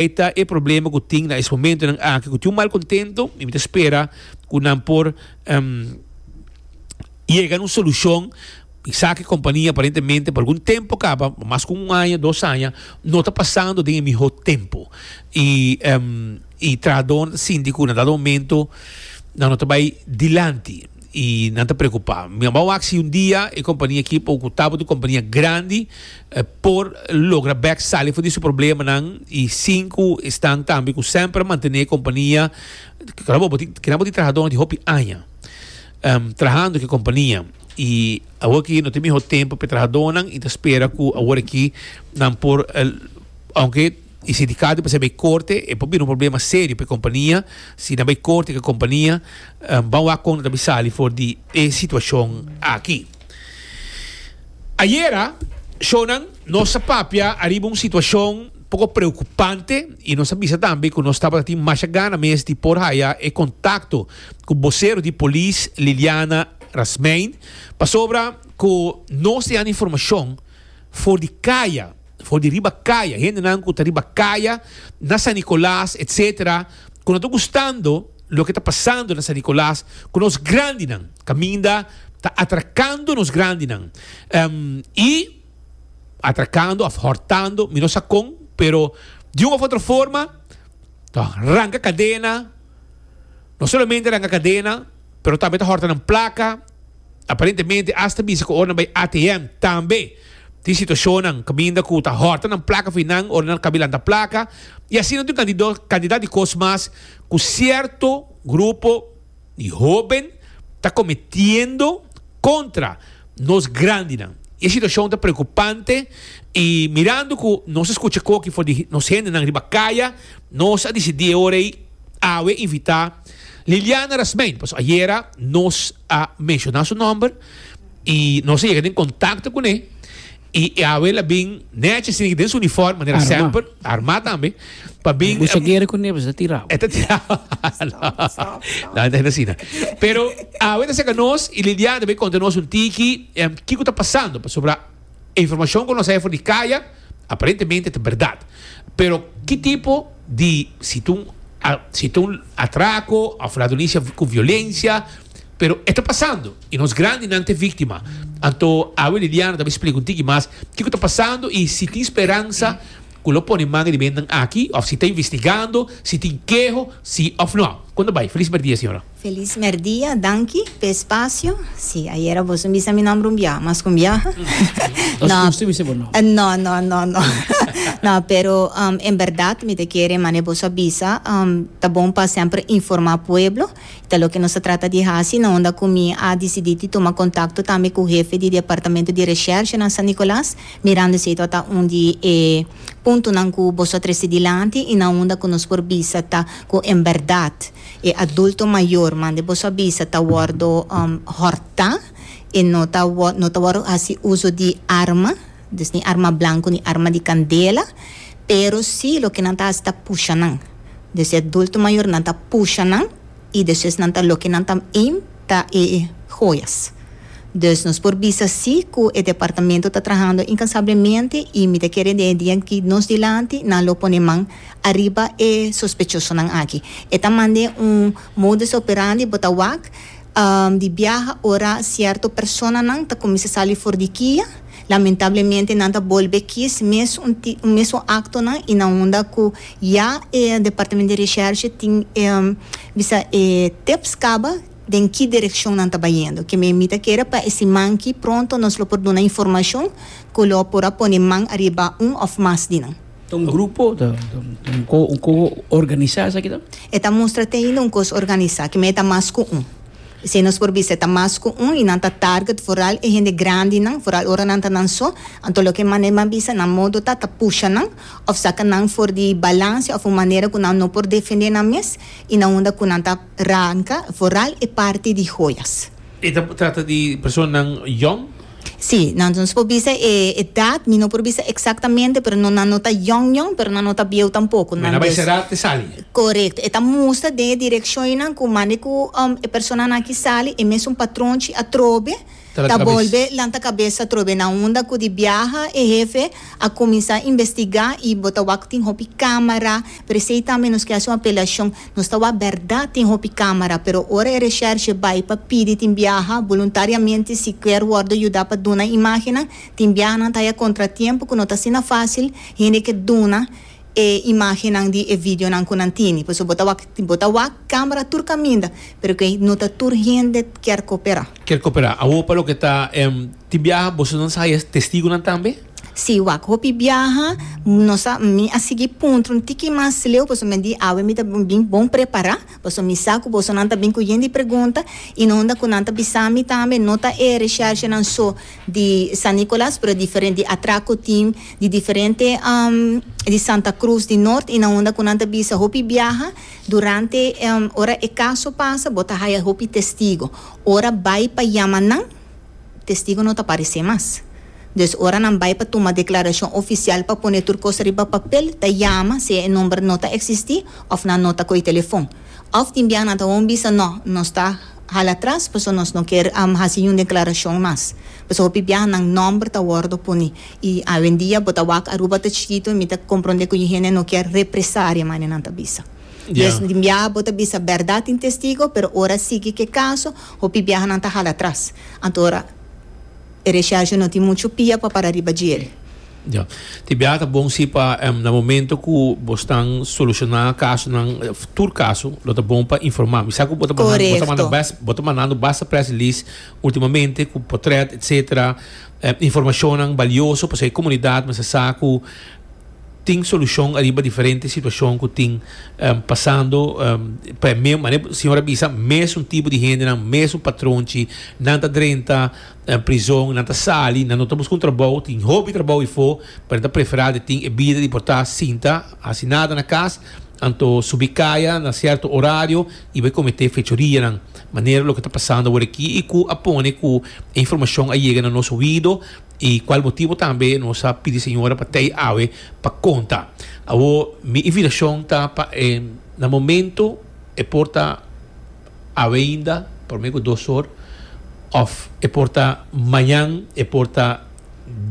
E ta e problema ku tin na es momentonan aki ku tin un malkontento i mi ta spera ku nan por yega na un solushon. Mi sa ku e kompania aparentemente pa algun tempu kaba, mas ku un aña, dos aña, no ta pasando den e mihó tempu. I i trahadónan ta sinti ku na dado momento nan no ta bai dilanti i nan ta preokupá. Mi a wak si un dia e kompania aki por ku tabata un kompania grandi por logra bek sali for di su problemanan y sin cu esnan tambe cu semper a mantene e compania, keda bo tin keda bo tin trahadornan di hopi aña trahando cu e compania y awor aki no tin miho tempo pa e trahadornan y ta spera cu awor aki nan por aunke e sindicato mester bay corte e por bira un problema serio pa e compania si nan bay corte cu e compania ban wak con nan ta bay sali for di e situacion aki. Ayera, shownan, nos a papia ariba un situacion poco preocupante y nos a bisa tambe cu nos tabata tin masha gana mes di por haya e contacto cu bocero di polis Liliana Rasmijn pasobra cu nos tin informacion for di caya, for di riba caya, hendenan cu ta riba caya na San Nicolas etc. Cu no ta gustando loke ta pasando na San Nicolas cu nos grandinan. Caminda ta atracando nos grandinan y atracando of hortando, mi no sa con, pero di un of otro forma ta ranca cadena, no solamente ranca cadena, pero tambe ta horta nan placa, aparentemente hasta bisa cu ora nan bay ATM tambe tin situacionnan caminda cu ta horta nan placa for nan ora nan cabi lanta placa y asina tin un cantidad di cos mas cu cierto grupo di hoben ta cometiendo contra nos grandinan. E situacion ta preocupante y mirando cu nos a scucha koki for di nos hendenan riba caya, nos a dicidi e ora ey awe invita Liliana Rasmijn, pasobra ayera nos a menciona su nomber y nos a yega den contacto cune. I awe el a bin nechi asina den su uniform manera Armá. semper, armá tambe, pa bin Bo sa guera kuné, bo sa tirá. E ta tirá. No, no asina. Pero awe ta saka nos i Liliana ta bin konta nos un tiki em, kiko ta pasando pasobra e informashon ku nos haya for di kaya aparentemente ta bèrdat. Pero ki tipo di si ta un si ta un atrako òf ladronisia ku violensia Pero e ta pasando y nos grandinan ta e victima. Anto awe Liliana ta bay splica un tiki mas kico ta pasando y si tin speransa cu lo pone man riba hendenan aki of si ta investigando, si tin keho, si of no. Con ta bay? Feliz merdia señora. Feliz merdia, danki p'e espacio. Si, ayera boso bisa mi nomber un biaha, mas cu un biaha. Nos gusta bisa bo nomber. No, no, no, no. No, pero en berdad mi ta kere mane boso a bisa, ta bon pa semper informa pueblo. Ta loke nos ta trata di hasi na unda ku mi a disidí di tuma kontakto tambe ku hefe di departamento di reshershe na San Nicolas, mirando esei tabata un di e puntonan ku boso a trese dilanti i na unda ku nos por bisa ta ku en bèrdat e adulto mayor mande boso a bisa ta wòrdu hòrtá e no ta no ta wòrdu hasi uso di arma, dus ni arma blanku ni arma di kandela, pero si loke nan ta hasi ta pusha nan. Dus e adulto mayor nan ta pusha nan y despues nan ta loke nan ta aim ta e joyas. Dus nos por bisa si cu e departamento ta trahando incansablemente y mi ta kere den e dia ki nos dilanti nan lo pone man ariba e sospechosonan aki. E ta mande un modus operandi bo ta wak di biaha ora cierto personanan ta cuminsa sali for di kia. Lamentablemente nan ta bolbe kies mes un mesun actonan y na unda cu ya e departamento di recherche tin e bisa e tips caba den ki direccion nan ta bayendo. Ke mi ta kere pa e siman ki pronto nos lo por duna informacion cu lo por a pone man ariba un of mas di nan. Ta un grupo? Ta un co organisa esaki ta? E ta mustra te ainda un cos organisa, ke mi e ta mas cu un. Esei nos por bisa, e ta mas ku un i nan ta target vooral e hende grandinan, vooral ora nan ta nan so. Anto loke manera mi a bisa, nan modo ta ta pusha nan òf saka nan for di balansia òf un manera ku nan no por defendé nan mes i na unda ku nan ta ranka vooral e parti di joyas. E ta trata di personanan yòn? Sí, nan nos por bisa e edad, mi no por bisa exactamente, pero no nan no ta yong yong, pero nan no ta bieu tampoco. Nan a bai sera te sali. Correcto, e ta mustra den e direccionnan cu mande cu e personanan aki sali, e mesun patronchi atrobe. Ta bolbe lanta kabes atrobe na unda ku di biaha e hefe a kuminsá investigá i bo ta wak tin hopi kámara, pero esei tambe nos ke hasi un apelashon, nos ta wak bèrdat tin hopi kámara, pero ora e reshèrshe bai pa pidi tin biaha boluntariamente si kier wòrdu yudá pa duna imágennan, tin biaha nan ta haya kontratiempo ku no ta asina fásil hende ke duna e imagennan di e videonan ku nan tini. Pasobra bo ta wak, bo ta wak camera tur kaminda, pero ke no ta tur hende kier koperá. Kier koperá. Awor pa loke ta tin biaha boso nan sa haya testigunan tambe? Sí, wak hopi biaha nos a, mi a sigui puntra un tiki mas leu pasobra mi di awe mi ta bin bon prepará, pasobra mi sa ku bosonan ta bin ku yen di pregunta i no unda ku nan ta bisa mi tambe no ta e reshershenan so di San Nicolas pero diferente di atraco team di diferente di Santa Cruz di Noord y na unda cu nan ta bisa hopi biaha durante ora e caso pasa bo ta haya hopi testigo ora bay pa yama nan testigo no ta parece mas dus ora nan bay pa tuma declaracion oficial pa pone tur cos riba papel ta yama sea e nomber no ta existi of nan no ta coy telefon of tin biaha nan ta gewoon bisa no nos ta Hala atras, pasobra nos no kier hasi niun deklarashon mas. Pasobra hopi biaha nan nòmber ta wòrdu poni. I awendia bo ta wak Aruba ta chikitu i mi ta komprondé ku hende no kier represaria manera nan ta bisa. Des tin biaha bo ta bisa bèrdat tin testigo, pero ora sigui ku e kaso, hopi biaha nan ta hala atras. Anto ora e reshèrshe no tin muchu pia pa para riba djel. Ya. Tin biaha ta bon si pa na momento ku bo stan solushoná kasonan, tur kaso, lo ta bon pa informá. Mi sa ku bo ta mandando, bo ta manda bes, bo ta mandando basta press release ultimamente ku potret etcetera, informashonnan balioso pasobra e komunidat mester sa ku tin solushon ariba diferente situashon ku tin pasando pa e me, manera señor a bisa mesun tipo di hendenan, mesun patronchi, nan ta drenta. Nan prizon, nan ta sali, nan no ta buska un trabou, tin hopi trabou ifo, pero nan ta prefera di tin e bida di por ta sinta, hasi nada na kas, anto subi kaya na sierto orario i bai komete fechorianan. Manera loke ta pasando awor aki i ku a pone ku e informashon a yega na nos oido i kual motibo tambe nos a pidi señora pa tei awe pa konta. Awor mi invitashon ta pa e na momento e por ta. Awe ainda, prome ku dos or, of e por ta mañan, e por ta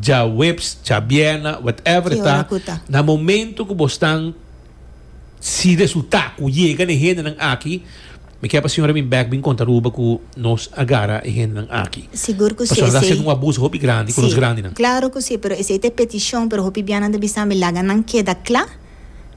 djaweps, djabierna, whatever e ta, na momento ku bo stan, si resulta ku yega na e hendenan aki, mi kier pa señora bin bek bin konta Aruba ku nos a gara e hendenan aki. Sigur ku si, Pasobra ta haciendo un abuso hopi grandi ku nos grandinan. Klaro ku si, pero esei ta e petishon, pero hopi bianan ta bisa mi laga nan keda kla.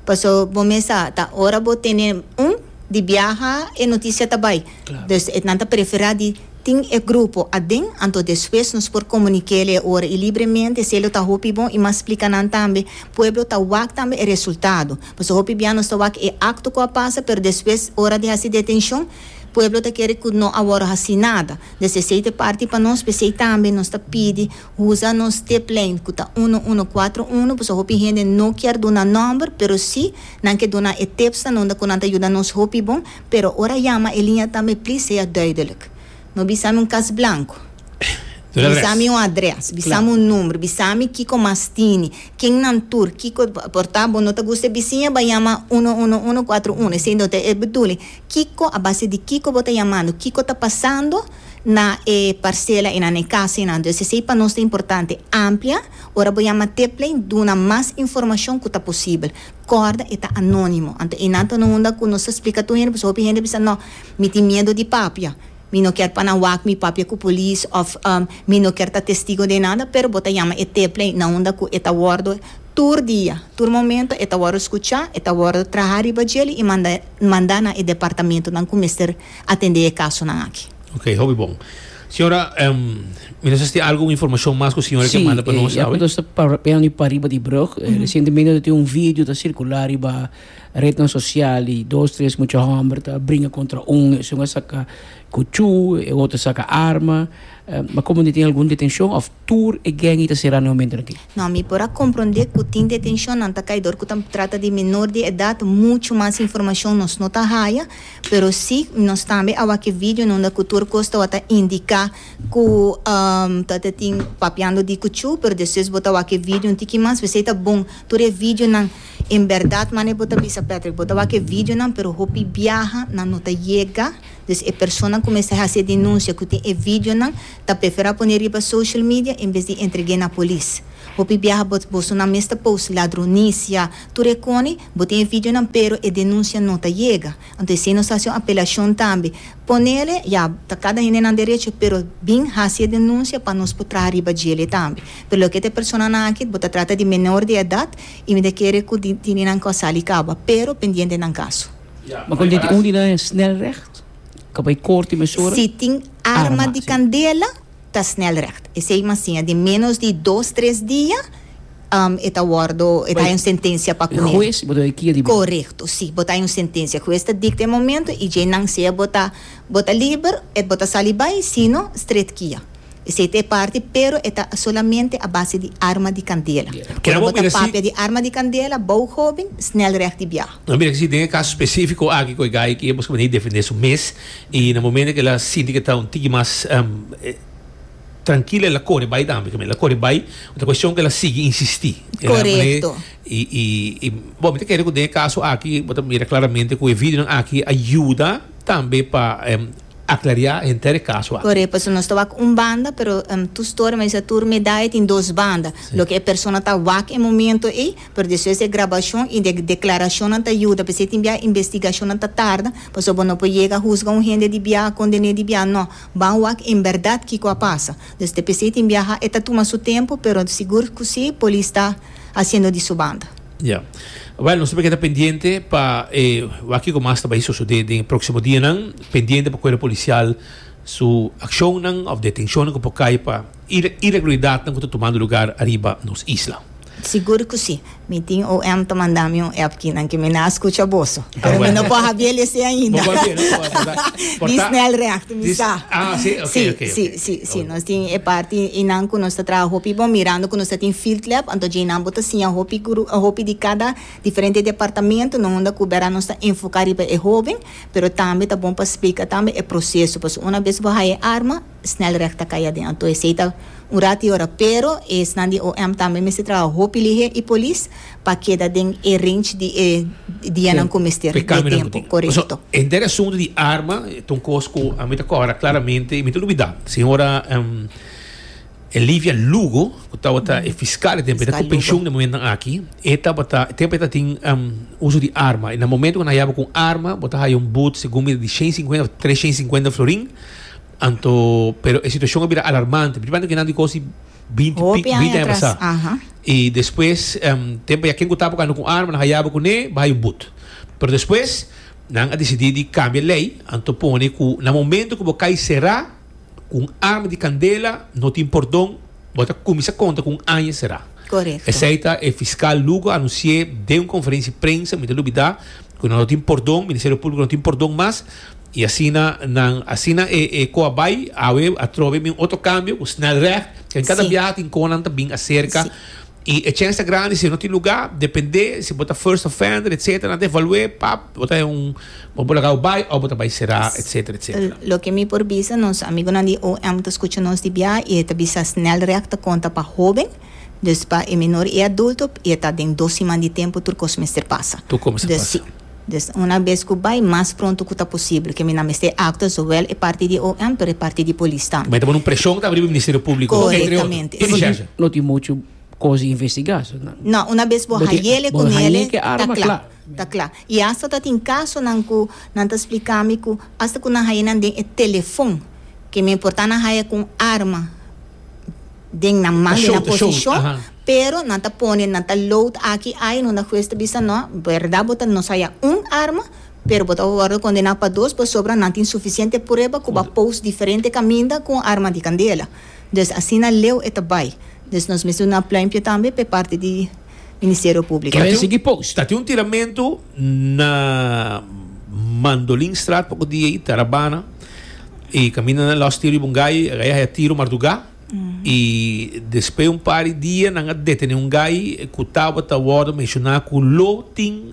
Paso bo mes sa ta ora bo tene un di biaha e noticia ta bay. Dus e nan ta prefera di tin e grupo aden anto despues nos por comuniquele e ora y libremente esey lo ta hopi bon y mas splica nan tambe pueblo ta wak tambe e resultado. Paso hopi bia nos ta wak e acto cu a pasa pero despues ora di haci detencion pueblo ta kere cu no a worde haci nada. Dus esey ta e parti pa nos pesey tambe nos ta pidi Usa nos tiplijn ku ta uno uno kuatro uno pasobra hopi hende no kier duna nòmber pero si nan ke duna e tipsnan unda ku nan ta yuda nos hopi bon pero ora yama e liña tambe plis sea duidelijk no bisa mi un kas blanku bisa mi un adres bisa mi un number bisa mi kiko mas tini ken nan tur kiko por ta bo no ta gusta e bisiña ba yama uno uno uno kuatro uno esei no ta e bedoeling kiko a base di kiko bo ta yamando kiko ta pasando. na e parcela y na e casa y nan. Dus esey pa nos ta importante. Amplia, ora bo yama tiplijn, duna mas informacion cu ta posibel. Corda e ta anonimo. Anto eynan ta no unda cu nos ta splica tur hende, pasobra hopi hende bisa no, mi tin miedo di papia. Mi no kier pa nan wak mi papia cu polis of mi no kier ta testigo den nada, pero bo ta yama e tiplijn na unda cu e ta wordo tur dia, tur momento e ta wordo scucha, e ta wordo traha riba djeli y manda manda na e departamentonan cu mester atendé e kasonan aki. Ok, hopi bon. Señora, mi no sa si tin algun informashon mas ku señora ke manda pa nos Sí, ya awe. ku nos ta papiando di pariba di brug, resientemente tin un video ta sirkulá riba retnan sosial di dos, tres mucha hòmber ta bringa kontra un, esun a saka kuchú, e otro a saka arma. Ma komo di tin algun detenshon òf tur e gèng ei ta será na e momentonan aki? No, mi por a komprondé ku tin detenshonnan ta kai dor ku ta trata di menor di edat, muchu mas informashon nos no ta haya. Pero si nos tambe a wak e video nunda cu tur cos tawata indica cu tawata tin papiando di cuchu, pero despues bo ta wak e video un tiki mas, p'esey ta bon tur e videonan. En berdad mane bo ta bisa Patrick, bo ta wak e videonan pero hopi biaha nan no ta yega, dus e persona cu mester haci e denuncia cu tin e videonan ta prefera pone riba social media en bes di entregue na polis. Hopi biaha bo bosonan mes ta post ladronicia, tur e coni, bo tin e videonan pero e denuncia no ta yega. Anto esey nos ta haci un apelacion tambe. Ponele, ya, ta cada hende nan derecho, pero bin haci e denuncia pa nos por traha riba djele tambe. Pero loke ta e personanan aki, bo ta trata di menor di edad y mi ta kere cu tini nan cu a sali caba, pero pendiente nan caso. Ma con di un di nan e snelrecht? Ka bay corte mesora? Si tin arma di candela, ta snelrecht. Esey mas siña di menos di dos, tres dia, e ta wordo, e ta hay un sentencia pa cune. Hues bo ta bay kia di bay? Corecto, si, bo ta hay un sentencia. Hues ta dicta e momento y djey nan sea bo ta, bo ta liber, et bo ta sali bay, si no, stret kia. Esey ta e parti, pero e ta solamente a base di arma di candela. Ora bo ta papia di arma di candela, bou hoben, snelrecht di biaha. No mira si den e caso specifico aki cu e guy aki e busca manera di defende su mes y na momento cu el a sinti cu e ta un tiki mas trankilo el a core bay tambe, el a core bay, ta cuestion cu el a sigui insisti. Corecto. Y y bo mi ta kere cu den e caso aki bo ta mira claramente cu e videonan aki a yuda tambe pa aclaria henter e caso aki. Corecto, pasobra nos ta wak un banda pero tur storia mi a bisa tur medaya tin dos banda, loke e persona ta wak e momento ey Pero despues e grabacion y de declaracionnan ta yuda, p'esey tin bia investigacionnan ta tarda, pasobra bo no por yega huzga un hende di bia, condene di bia, no. Ban wak en berdad kico a pasa. Dus te p'esey tin biaha e ta tuma su tempo, pero sigur cu si polis ta haciendo di su banda. Ya. Wel, nos ta keda pendiente pa e wak kico mas ta bay sosode den e proximo dianan, pendiente pa cuerpo policial su accionnan of detencionnan cu por cay pa iregularidadnan cu ta tumando lugar ariba nos isla. Sigur ku si. Mi tin OM ta manda mi un app kinan ke mi na a skucha boso. Pero mi no por habia el esei ainda. Di snelrecht, mi sa. Ah, si, ok, Si, ok, si, ok. si, si. Nos tin e parti einan ku nos ta traha hopi bon mirando ku nos ta tin field lab, anto djeinan bo ta siña hopi gru, hopi di kada diferente departamento, no unda ku bera nos ta enfoká riba e hoben, pero tambe ta bon pa splika tambe e proseso, pasobra una bes bo haya e arma, Snelrecht ta kai aden. Anto esei ta un rat i ora. Pero esnan di OM tambe mester traha hopi lihé i polis pa keda den e range di e dianan ku mester P'e di e cambionan ku tempu. tin. Korekto. Paso, henter e asuntu di arma ta un kos ku ami ta kòrda klaramente i mi ta lubidá. Señora Elivia Lugo, ku tabata e fiskal e tempu, e ta Fiskal ku penshun Lugo. na e momentunan aki, e tabata, e tempu e ta tin uso di arma. I na momentu ku nan haya bo ku un arma, bo ta haya un but segun mi di shen sinkuenta òf tres shen sinkuenta florin. Anto, pero e situacion a bira alarmante, principalmente cu nan di cos di binti Hopi pi, aña binti aña atras, pasá. aha. Y despues, tempo ya ken cu taba ando cu arma, nan hayaba cune, bay un but. Pero despues, nan a dicidi di cambia ley, anto pone cu na momento cu bo cay cera cu un arma di candela, no tin pordon, bo ta cuminsa conta cu un aña cera. Correcto. Esey ta e fiscal Lugo a anuncié den un conferencia di prensa, mi ta lubida, cu nan no tin pordon, Ministerio Publico no tin pordon mas, I asina nan, asina e e ko a bai, awe atrobe bin otro kambio ku snelrecht, ken kada Sí. biaha tin konan ta bin aserka. Sí. I e chèns ta grandi si no tin lugá, dependé si bo ta first offender etcetera, nan ta evalu'é, pap, bo ta un, bo por laga bo bai òf bo ta bai será etcetera etcetera. Loke mi por bisa, nos amigunan di OM ta skucha nos di biaha i e ta bisa snelrecht ta konta pa hóben, dus pa e menor i e adulto, i e ta den dos siman di tempu tur kos mester pasa. Tur kos mester Dus pasa. sí. Dus una bes ku bai, mas pronto ku ta posibel, ke mi nan mester aktua zowel e parti di OM pero e parti di polis tambe. Mester pone un preshon tambe riba Ministerio Públiko, entre otro. Korektamente, I sí. Recherche. No tin muchu kos di investigá. So nan. No, una bes bo Bo tin hayele bo ku hañ'é nele, ke ta arma kla. kla. Ta kla. I asta ta tin kasonan ku nan ta splika mi ku asta ku nan haye nan den e telefon, ke mi por ta nan haya ku un arma den nan man, Ta den show, nan ta show, posishon, aha. pero nan ta pone, nan ta load aki ai, no na hues ta bisa no, berdad bo ta nos haya un arma, pero bo ta wordo condena pa dos pasobra nan tin suficiente prueba cu bo a post diferente caminda cu un arma di candela. Dus asina leu e ta bay. Dus nos mester duna pluimpje tambe p'e parti di Ministerio Publico. Kende sigui post? Ta tin un tiramento na Mandolinstraat poco dia ei, Tarabana, y caminda nan los tiro riba un gai, e gai a haya tiro marduga. Y despues un par di dia nan a detene un gai cu tabata wordo menciona cu lo tin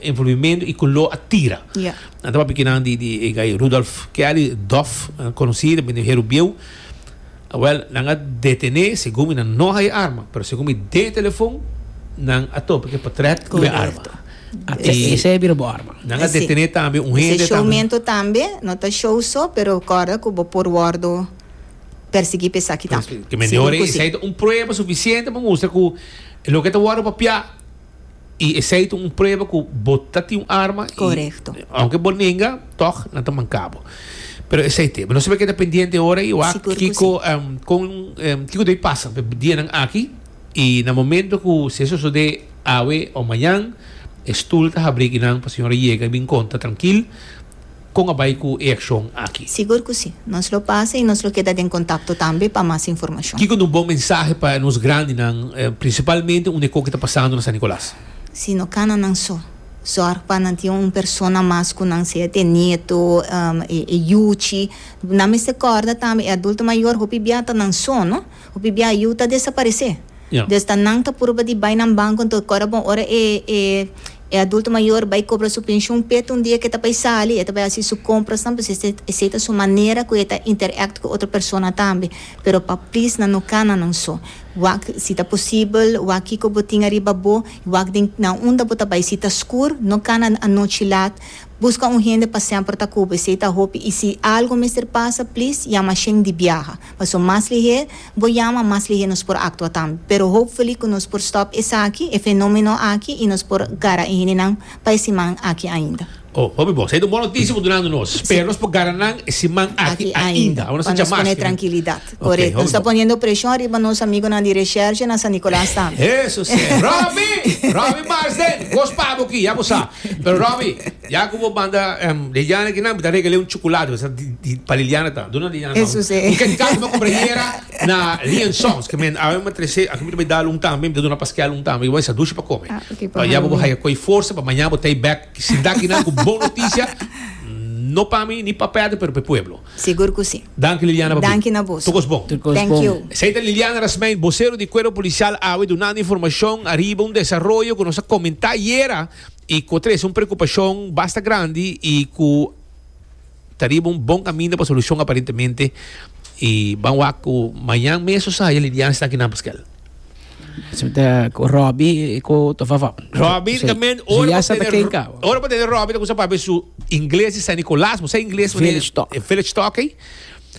envolvimento y cu lo a tira. Nan ta papia kinan di di e gai Rudolf Kelly, Dof, conoci den bende Heru Bieu. Awel, nan a detene, segun mi nan no haya arma, pero segun mi den e telefon, nan a topa ku e potret ku e arma. Correcto. Esei a bira bo arma. Nan a detené tambe un hende Esei showmento tambe, no ta show so, pero kòrda ku bo por wòrdu persiguí pa esaki tambe. Ke men di ora esei ta un prueba sufisiente pa mustra ku loke ta wòrdu papiá i esei ta un prueba ku bo ta tin un arma i Korekto. aunke bo nenga tòg nan ta manka bo. Pero esei te. Nos ta keda pendiente ora i wak Sigur ku kiko si. kon kiko debe pasa pa e dianan aki i na momento ku si e sosodé awe o mañan e stul ta habri kinan pa señora yega i bin konta trankil kon a bai ku e akshon aki. Sigur ku si. Nos lo pasa i nos lo keda den kontakto tambe pa mas informashon. Kiko ta un bon mensahe pa nos grandinan, prinsipalmente unda e koki ta pasando na San Nicolas? Si no kana nan so. Zorg pa nan tin un persona mas ku nan, sea te nieto, e yuchi. Nan mester kòrda tambe e adulto mayor hopi bia ta nan so, no? Hopi bia yu ta desaparesé. Dus ta nan ta purba di bai nan banko, anto kòrda bon ora e e e adulto mayor bai kobra su penshun pet un dia ke ta bai sali, e ta bai hasi su komprasnan, pues esei esei ta su manera ku e ta interact ku otro persona tambe. Pero pa plis nan no kana nan so. Wak si ta posibel, wak kiko bo tin ariba bo, wak den na unda bo ta bai. Si ta skur, no kana anochi lat. Buska un hende pa semper ta ku bo, esei ta hopi. I si algo mester pasa, plis yama shen di biaha. Paso mas lihé bo yama, mas lihé nos por aktua tambe. Pero hopefully ku nos por stòp esaki, e fenomeno aki, i nos por gara e hendenan pa e siman aki ainda. Oh, hopi bon. Esei ta un bon notisia bo dunando nos. Spera nos por gara nan e siman aki ainda. Awor nos ta djamas. Pa nos pone trankilidat. Korekto. Nos ta poniendo preshon riba nos amigonan di reshershe na San Nicolas tambe. Eso si. Robbie! Robbie Marsden! Kos pa bo aki, ya bo sa. Pero Robbie, ya ku bo manda Liliana aki nan, mi ta regal'é un chocolate. Bo sa di pa Liliana ta. Duna Liliana nan. Eso si. Un Kit Kat mi a kumpra ayera na Lee and Sons. Ke men awe mi a trese, aki mi ta bai dal un tambe, mi ta duna Pascal un tambe. Bo a sa dushi pa kome. Ah, ok, pa Ya bo bo haya koi forsa pa mañana bo ta ei bek. Sinta aki nan ku bon notisia, no pa mi ni pa Pedro, pero pa e pueblo. Sigur ku si. Danki Liliana pa bin. Danki na boso. Tur kos bon. Tur kos Thank bon. you. Esei ta Liliana Rasmijn, bosero di Cuerpo Policial awe dunando informacion ariba un desaroyo cu nos a comenta ayera y cu a trece un preocupacion basta grandi y cu ta riba un bon caminda pa solucion aparentemente y ban wak cu mañan mes o sa Liliana esta aki nan Pascal. Si ta cu Robbie cu ta fafa. Robbie Si- también si ora ya pa sa ta tener ken ka. ora pa tener Robbie ta kusa papia su ingles di San Nicolas, bo sa ingles wanneer- Village talk. eh, village talk ei.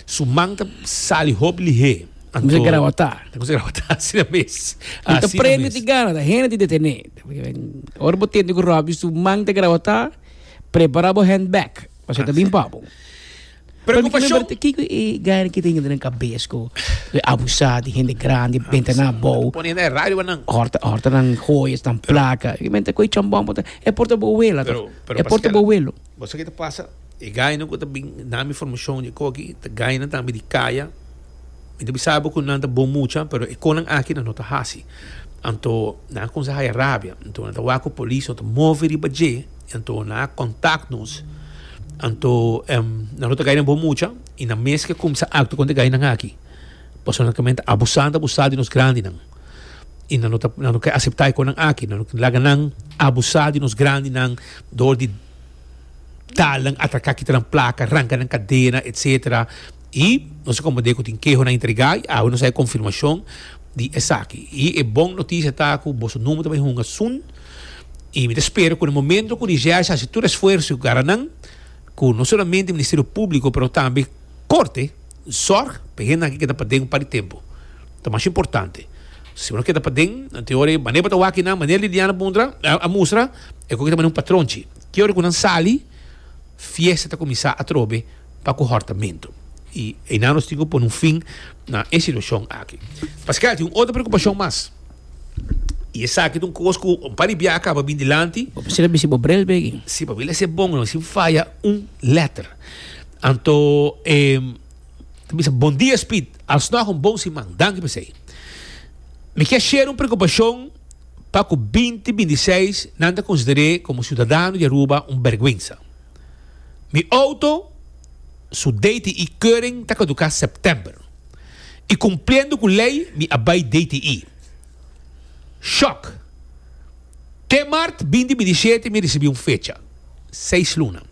Su man ta sali hopi lihé. Kusa Anto grawatá. ta kusa grawatá asina mes. No ta Asina prende mes. di gana, ta hende di detené. Ora bo tende ku Robbie su man ta grawatá, prepara bo handbag, pasobra ta bin pa bo. Preocupacion. Kiko e gana ki tin den kabes ku abusá di hende grandi, benta nan abou. Pone hende radio nan. Horta, horta nan joyas, nan plaka. I menta ku e chambon por ta, e por ta bo wela Pero, pero E por ta Pascal, bo welo. bo sa ke ta pasa? E gainan ku ta bin na mi formashon di koki, ta gainan tambe di kaya. Mi ta bisa bo ku nan ta bon mucha, pero e konan aki nan no ta hasi. Anto nan a kuminsá haya rabia. Anto nan ta wak ku polis no ta move riba dje. Anto nan a kontak nos. Anto nan no ta gainan bon mucha i nan mes ke kuminsá aktua kontra e gainan aki. Pasobra nan ta abusando abusá di nos grandinan. I nan no ta nan no ke aseptá e konan aki. Nan no ke laga nan abusá di nos grandinan dor di dal nan, atraká, kita nan plaka, ranka nan kadena, etsetera. I nos a komprendé ku tin kehonan entregá i awe nos a haña konfirmashon di esaki. I e bon notisia ta ku boso number ta bai hunga soon. I mi ta spera ku na momento ku Recherche hasi tur esfuerso i gara nan, ku no solamente Ministerio Públiko pero tambe Korte zòrg pa e hendenan aki keda paden un par di tempu. Ta masha importante. Si bo no keda paden, anto e ora ei manera bo ta wak nan, manera Liliana puntra, a mustra, e ku ta manera un patronchi. Ki ora ku nan sali, fiesta ta kuminsá atrobe pa ku hòrtamentu. I einan nos tin ku pone un fin na e situashon aki. Pascal, tin un otro preokupashon mas. I esaki ta un kos ku un par di biaha kaba bin dilanti. Bo mester a bisti bo bril begi. Si, pa mi lesa e bon, no sin faya un letter. Anto e ta bisa, Bon dia Speed, alsnog un bon siman. Danki pa esei. Mi ke share un preokupashon pa ku binti 26 nan ta konsider'é komo siudadano di Aruba un bèrgwensa. Mi outo su DTI keuring ta kaduká sèptèmber. I kumpliendo ku lei mi a bai DTI. Shòk! Te mart binti 27 mi risibí un fecha. Seis luna.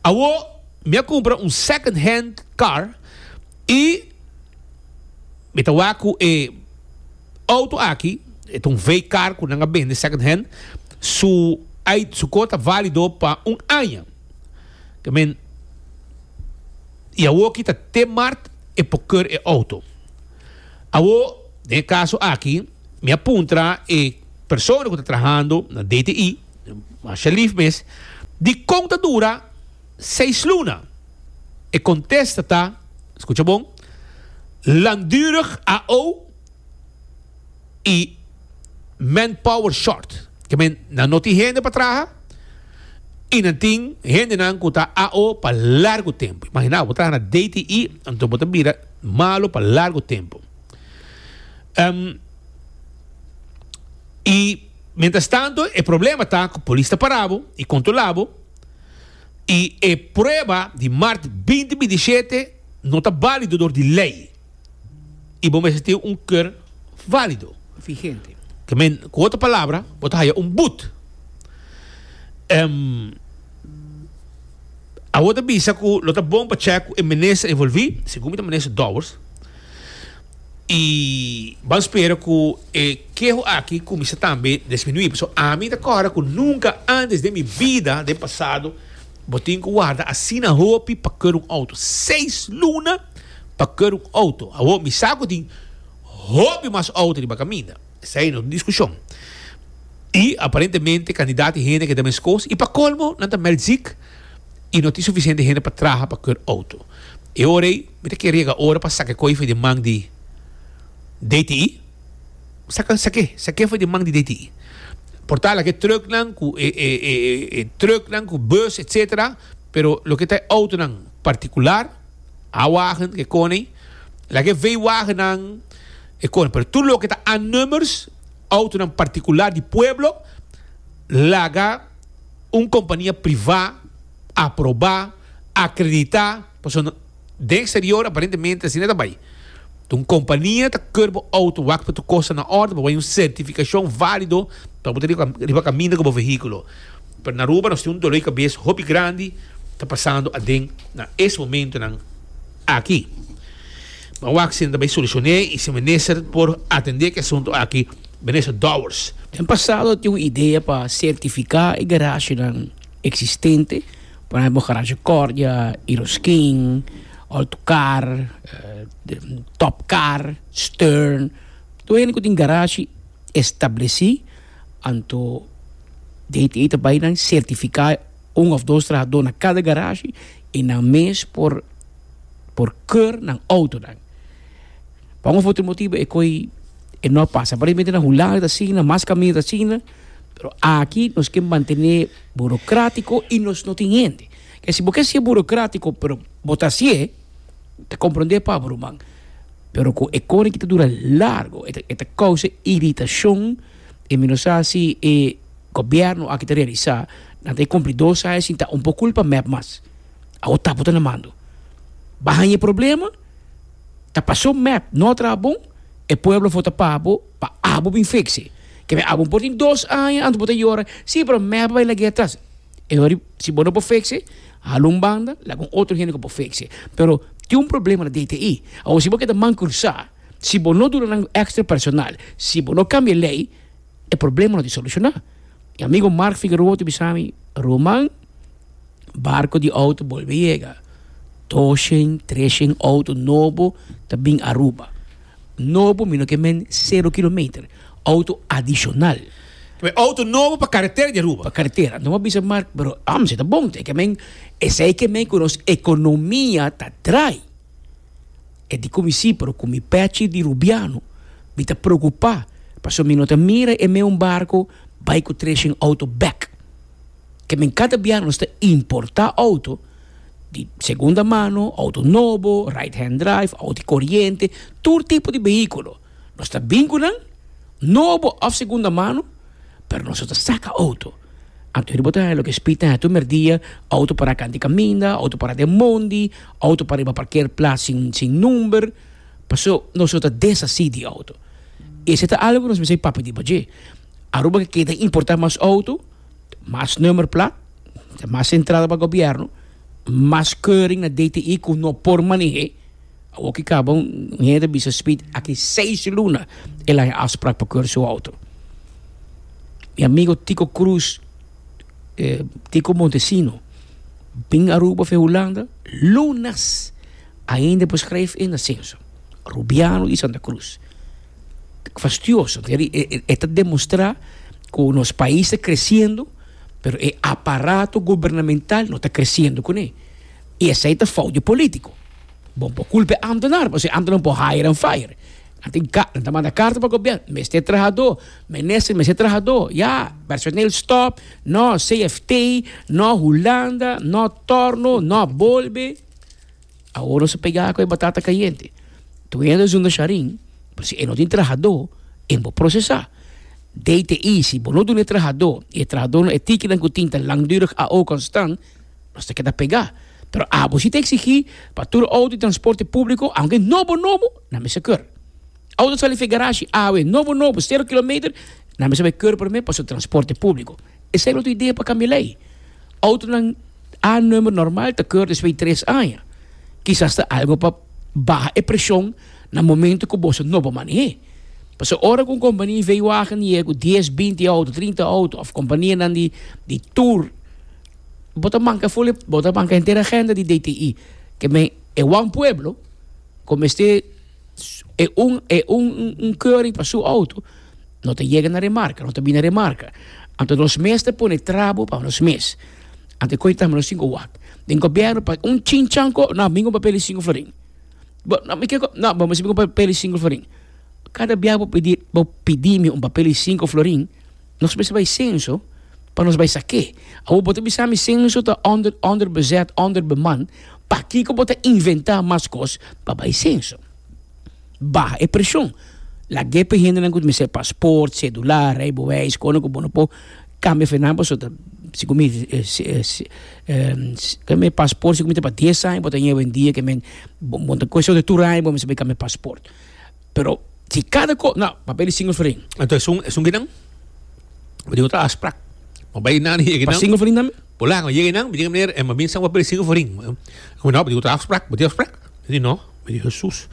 Awo mi a kumpra un second hand car i mi ta wak ku e outo aki. E ta un V-car ku nan a bende second hand. Su ai su kor ta válido pa un aña. Ke men i awoki ta te mart e por keur e outo. Awo den e kaso aki mi a puntra e persona ku ta trahando na DTI, masha lif mes, dikon ta dura seis luna? E kontesta ta, skucha bon, langdurig AO i manpower short. Ke men nan no tin hende pa traha i nan tin hendenan ku ta AO pa largu tempu. Imagina bo traha na DTI anto bo ta bira malo pa largu tempu. I mientras tanto e problema ta ku polis ta para bo i kontrola bo i e prueba di mart 2027 no ta balido dor di lei. I bo mester tin un keur válido. Vigente. Ke men, ku otro palabra, bo ta haya un but. Um, awor ta bisa ku lo ta bon pa check ku e minister envolví, segun mi ta minister Dowers, i ban spera ku e keho aki kuminsá tambe disminuí. Pasobra ami ta kòrda ku nunka antes den mi bida, den pasado, bo tin ku warda asina hopi pa keur un outo. Seis luna! pa keur un auto. Awor mi sa ku tin hopi mas auto riba kaminda. Esei no tin diskushon. I aparentemente kandidat di hende ke ta meskos i pa kolmo nan ta meld zik i no tin sufisiente hende pa traha pa keur auto. E ora ei mi ta kere yega ora pa saka e koi for di man di DTI. Saka sak'é, sak'é for di man di DTI. Por ta lak e trucknan ku e e e e trucknan ku bus etcetera pero loke ta e autonan partikular. A-wagen ke kone, laga e V-wagennan e kone, pero tur loke ta A-nummers, autonan partikular di pueblo, laga un kompania privá aprobá, akreditá, pasobra den eksterior aparentemente asina ta bai. Un kompania ta keur bo outo wak pa tur kos ta na orde, pa bo hay un sertifikashon válido pa bo ta riba kaminda ku bo vehíkulo. Pero na Aruba nos tin un dolor di kabes hopi grandi ta pasando aden na es momentonan aki. Ban wak si nan ta bay solucione y si minister por atende cu e asunto aki, Minister Dowers. Den pasado tin un idea pa certifica e garagenan existente, por ehempel garage Cordia, Iroskin, Autocar, Topcar, Stern, tur hende cu tin garage estableci. Anto DTI ta bai nan sertifiká un òf dos trahadó na kada garashi i nan mes por por keur nan outonan. Pa un òf otro motibu e koi e no a pasa. Aparentemente na Hulanda ta asina, mas kaminda ta asina, pero aki nos ke mantené burokratico i nos no tin hende. Ke si bo ke hasié burokratico pero bo ta hasié, ta komprondé pa bo ruman. Pero ku e kore ki ta dura largo, e ta e ta kousa iritashon i mi no sa si e gobièrnu aki ta realisá nan ta e kumpli dos aña sin ta un por kulpa mep mas. Awor tapo ta na mando. Ba haña e problema, ta pasó mep no a traha bon, e pueblo for ta paga bo pa abo bin fiks'e. Ke abo por tin dos aña anto bo ta yora, si pero mep a bai lag'é atras. E ora si bo no por fiks'e, hala un banda, laga un otro hende ku por fiks'e. Pero tin un problema na DTI. Awor si bo keda man krusá, si bo no duna nan extra personal, si bo no kambia e lei, e problema no tin solushoná. Mi amigo Mark Figueroa ta bisa mi, Roman, barko di outo bolbe yega. Doshen, treshen outo nobo ta bin Aruba. Nobo mi no ke men sero kilometer, outo adishonal. Ke outo nobo pa karetera di Aruba. Pa karetera. No a bisa Mark, pero am si ta bon te ke men esei ke men ku nos ekonomia ta drai. E di ku mi si, pero ku mi pechi di Rubiano mi ta preokupa pasobra mi no ta mira e me un barko bai ku treshen outo bek. Ke men kada bia nos ta importa outo di segunda mano, outo nobo, right hand drive, outo di koriente, tur tipo di behikulo. Nos ta bin ku nan, nobo òf segunda mano, pero nos no ta saka outo. Anto hende bo ta haña loke spit nan tur merdia, outo para kant di kaminda, outo para den mondi, outo para riba parkeerplaats sin sin number, paso nos no ta deshasí di outo. Esei ta algu ku nos mester papia di dje. Aruba ke keda importá mas outo, mas nummerplaat, mas entrada pa gobièrnu, mas keuring na DTI ku no por maneh'é. Awor ki kaba un hende bisa Speed aki seis luna el a haña afsprak pa keur su auto. Mi amigo Tico Cruz, Tico Montesino, bin Aruba for Hulanda lunas ainda por schrijf in na Censo. Rubiano di Santa Cruz. Fastioso. E ta demostra ku nos pais ta creciendo pero e aparato gubernamental no ta creciendo kuné. I esei ta fout di politico. Bo por culpa e ambtenaar, pasobra e ambtenaar por hire and fire. Nan tin ka, nan ta manda carta pa gobierno, mester trahadó, minister mester trahadó, ya, personeel stop, no CFT, no Hulanda, no torno, no bolbe. Awor nos a pega cu e batata cayente. Tur hende zunda sharin, pero si e no tin trahadó, e no por procesa. DTI, si bo no duna e trahadó, y e trahadó no, e tikinan cu tin ta langdurig AO constant, Nos ta keda pegá. Pero abo si ta eksigí pa tur outo di transporte públiko, aunke nobo nobo, nan mester keur. Outo sali for e garashi awe, nobo nobo, sero kilometer, nan mester bai keur promé pasobra transporte públiko. Esei lo ta idea pa kambia lei. Outonan A-nummer normal ta keur despues di tres aña. Kisas ta algo pa baha e preshon na momento ku boso no por maneh'é. Pasobra ora ku un kompania V-wagen yega ku dies, binti outo, trinta outo òf kompanianan di tour, Bo ta manca ful e, bo ta manca henter agenda di DTI. Ke men e wan pueblo ku mester e un e un un keuring pa su auto no ta yega na remarka, no ta bini na remarka. Anto nos mes ta pone trabo pa nos mes. Anto e koe tambe nos tin ku wak. Den gobièrnu pa un chinchan ko, no, mi ku papel di sinku florin. Bo, no, mi ke ko, no, bo mester bin ku papel di sinku florin. Kada bia bo pidi bo pidi mi un papel di sinku florin. Nos mester bai censo pa nos bai sak'é. Awor bo ta bisa mi censo ta onder onderbezet, onderbeman, pakiko bo ta inventá mas kos pa bai censo? Baha e preshon. Lag'é pa e hendenan ku mester pasport, sedula, rijbewijs, kono ku bo no por kambia for nan pasobra ta segun mi kambia pasport segun mi ta pa dies aña bo ta ña awendia ke men bo ta kuestion di tur aña bo mester bai kambia pasport. Pero si cada ko, no, papel di single florin. Anto esun, esun kinan? Bo tin otro afspraak. Bo bai nan yega Pa nan. single florin tambe? Bo laga, yega nan, bo diga meneer, eh, ma bin san papel di single florin. Como no, bo tin otro afspraak, bo tin afspraak? Mi di no, mi di Jesus.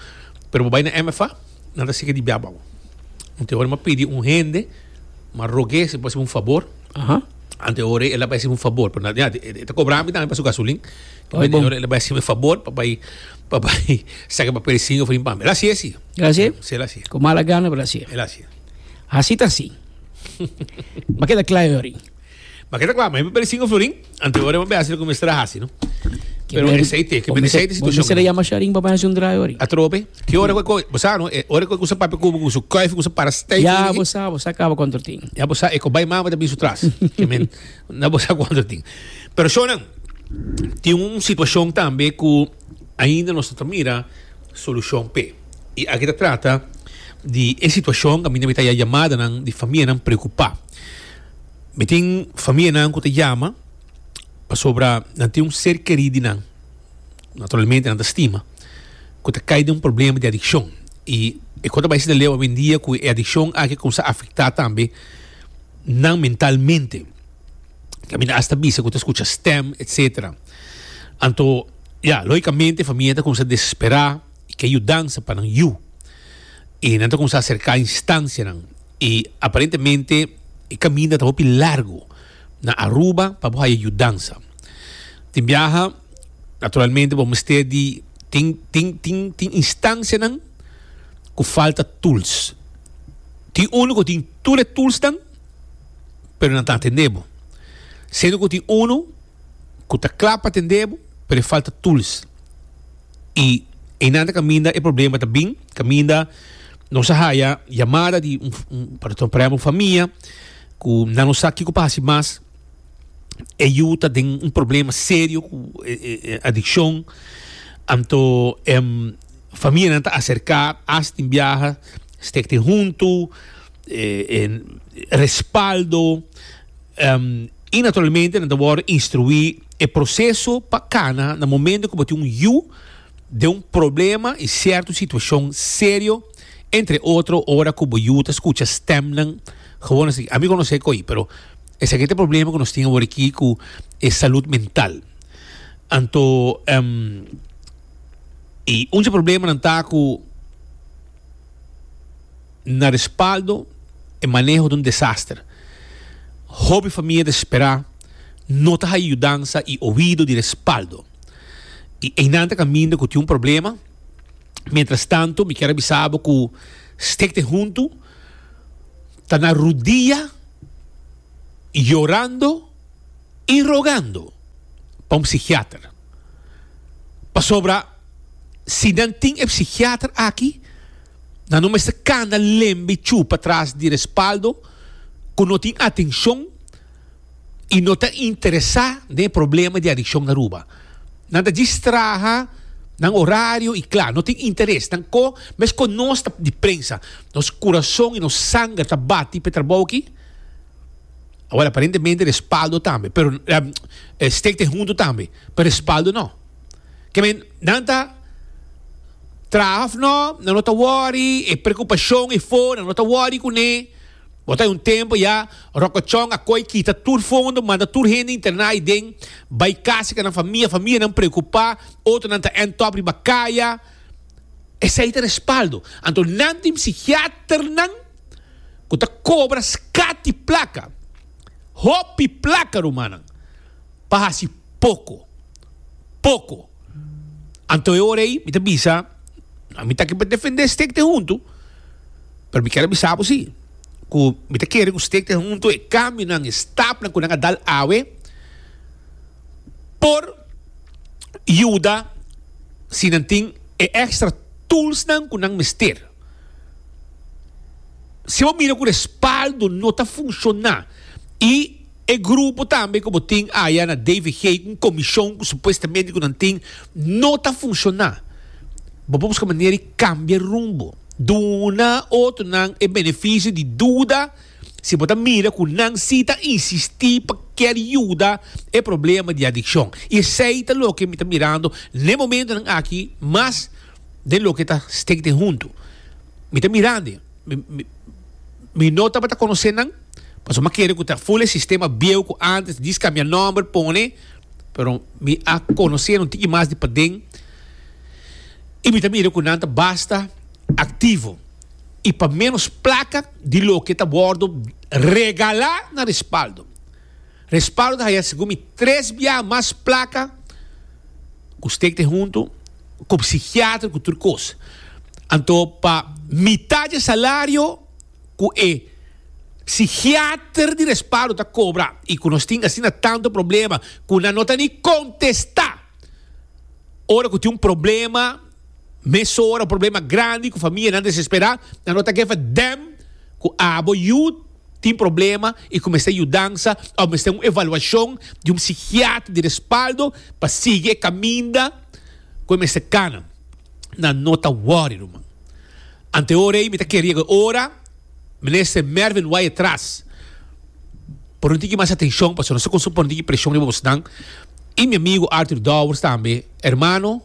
Pero bo bai na MFA, nan ta siki di bia bou. Anto ora mi a pidi un hende, mi a rog'é si por hasi mi un fabor. Aha. Anto ora el a bai hasi mi un fabor, pero na, ya, e ta kobra mi tambe pa su gasolin. Ay, bon. Ora el a bai hasi mi fabor pa bai pa bai saca papel singo for pa mi. El a hasié si. El a hasié? Si, el a hasié. Ku mala gana, pero el a hasié. El a hasié. Hasi ta hasi. Bo a keda kla Yorin. Bo a keda kla, ma e papel singo florin, anto ora bo a hasi loke mester a hasi, no? Pero esei te, ke men esei te Bo situashon. mester a yama Sharin pa bai hasi un draai, Yorin. Atrobe, ki ora ku e, bo sa no, e ora ku e kusa papia ku bo ku su kuif kusa para stijf. Ya, bo sa, bo sa kaba kontra tin. Ya bo sa, e ku bai mama ta bin su tras. Ke men, na bo sa kuantu tin. Pero shownan, tin un situashon tambe ku ainda nos no ta mira solushon p'e. I aki ta trata di e situashon kaminda mi ta haya yamadanan di famianan preokupá. Mi tin famianan ku ta yama pasobra nan tin un ser kerí di nan, naturalmente nan ta stima, ku ta kai den un problema di adikshon. I e kos ta bai asina leu awendia ku e adikshon aki a kuminsá afektá tambe nan mentalmente. Kaminda hasta bisa ku ta skucha stem etcetera. Anto ya logicamente famia ta kuminsá desesperá i ke yudansa pa nan yu. I nan ta kuminsá aserká instansianan i aparentemente e kaminda ta hopi largu na Aruba pa bo haya yudansa. Tin biaha naturalmente bo mester di tin tin tin tin instansianan ku falta tools. Tin unu ku tin tur e toolsnan. pero nan ta atendé bo. Siendo ku tin unu ku ta kla pa atendé bo, pero e falta tools. I einan ta kaminda e problema ta bin, kaminda nos a haya yamada di un, un, por ehempel, un famia ku nan no sa kiko pa hasi mas. E yu ta den un problema serio ku e adikshon. Anto famianan ta aserká, asta tin biaha, stek tin huntu. Respaldo y naturalmente nan ta worde instrui e proceso pa cana na momento cu bo tin un yu den un problema y cierto situacion serio entre otro ora cu bo yu ta scucha stemnan gewoon así. Ami conoce coy pero esaki ta e problema cu nos tin awor aki cu e salud mental. Anto. I un dje problemanan ta ku na respaldo e maneho ta un desaster. Hopi famia desesperá no ta haya yudansa i oido di respaldo. I einan ta kaminda ku tin un problema. Mientras tanto mi kier a bisa bo ku Stichting Huntu ta na rudia yorando i rogando pa un psikiater. Pasobra si nan tin e psikiater aki, nan no mester kanda lembe chupa tras di respaldo ku no tin atenshon i no ta interesá den e problema di adikshon na Aruba. Nan ta djis traha nan orario i kla, no tin interes. Nan ko mes ku nos ta di prensa, nos kurason i nos sanger ta bati pa e trabou aki. Awor aparentemente respaldo tambe, pero Stichting Hunto tambe, pero respaldo no. Ke men nan ta traha of no, nan no ta worry, e preocupacion e for, nan no ta worry cune. Bo ta un tempo ya Rocochon a coy kita tur fondo, manda tur hende interna aiden, bay casa cu nan famia, famianan preocupa, otronan ta end top riba caya. Esey ta respaldo. Anto nan tin psichiaternan ku ta kobra skati plaka, hopi plaka rumannan, pa hasi poko, poko. Anto e ora ei mi ta bisa, mi ta aki pa defendé Stichting Huntu, pero mi kier a bisa bo si, ku mi ta kere ku Stichting Huntu e kambionan, e stapnan ku nan a dal awe por yuda si nan tin e extra toolsnan ku nan mester. Si bo mira ku respaldo no ta funshoná i e grupo tambe ku bo tin aya na DVG, un komishon ku supuestamente ku nan tin, no ta funshoná, bo por buska manera di kambia rumbo. Duna otronan e benefisio di duda si bo ta mira ku nan si ta insistí pa kier yuda e problema di adikshon. I esei ta loke mi ta mirando n'e momentonan aki mas. Den loke ta steek den huntu. Mi ta mirandi. Mi, mi, mi no tabata konosé nan, pasobra mi a kere ku ta ful e sistema bieu ku antes djis kambia nòmber pone, pero mi a konosé nan un tiki mas di paden i mi ta mira ku nan ta basta aktivo i pa ménos plaka di loke ta wòrdu regalá na respaldo. Respaldo ta haya segun mi tres biaha mas plaka ku steek den huntu, ku psikiater, ku tur kos. Anto pa mitad dje salario ku e psikiater di Respaldo ta kobra i ku nos tin asina tantu problema ku nan no ta ni kontestá ora ku tin un problema mesora, un problema grandi ku famianan desesperá, nan no ta gefa dèm ku abo yu tin problema y cu mester yudansa of mester un evaluacion di un psiquiatra di respaldo pa sigui e caminda cu e mester cana. Nan no ta worry ruman. Ante ora ey mi ta kere yega e ora Minister Mervin Wyatt Ras por un tiki mas atencion pasobra nos ta cuminsa pone un tiki presion riba bosnan y mi amigo Arthur Dowers tambe. Hermano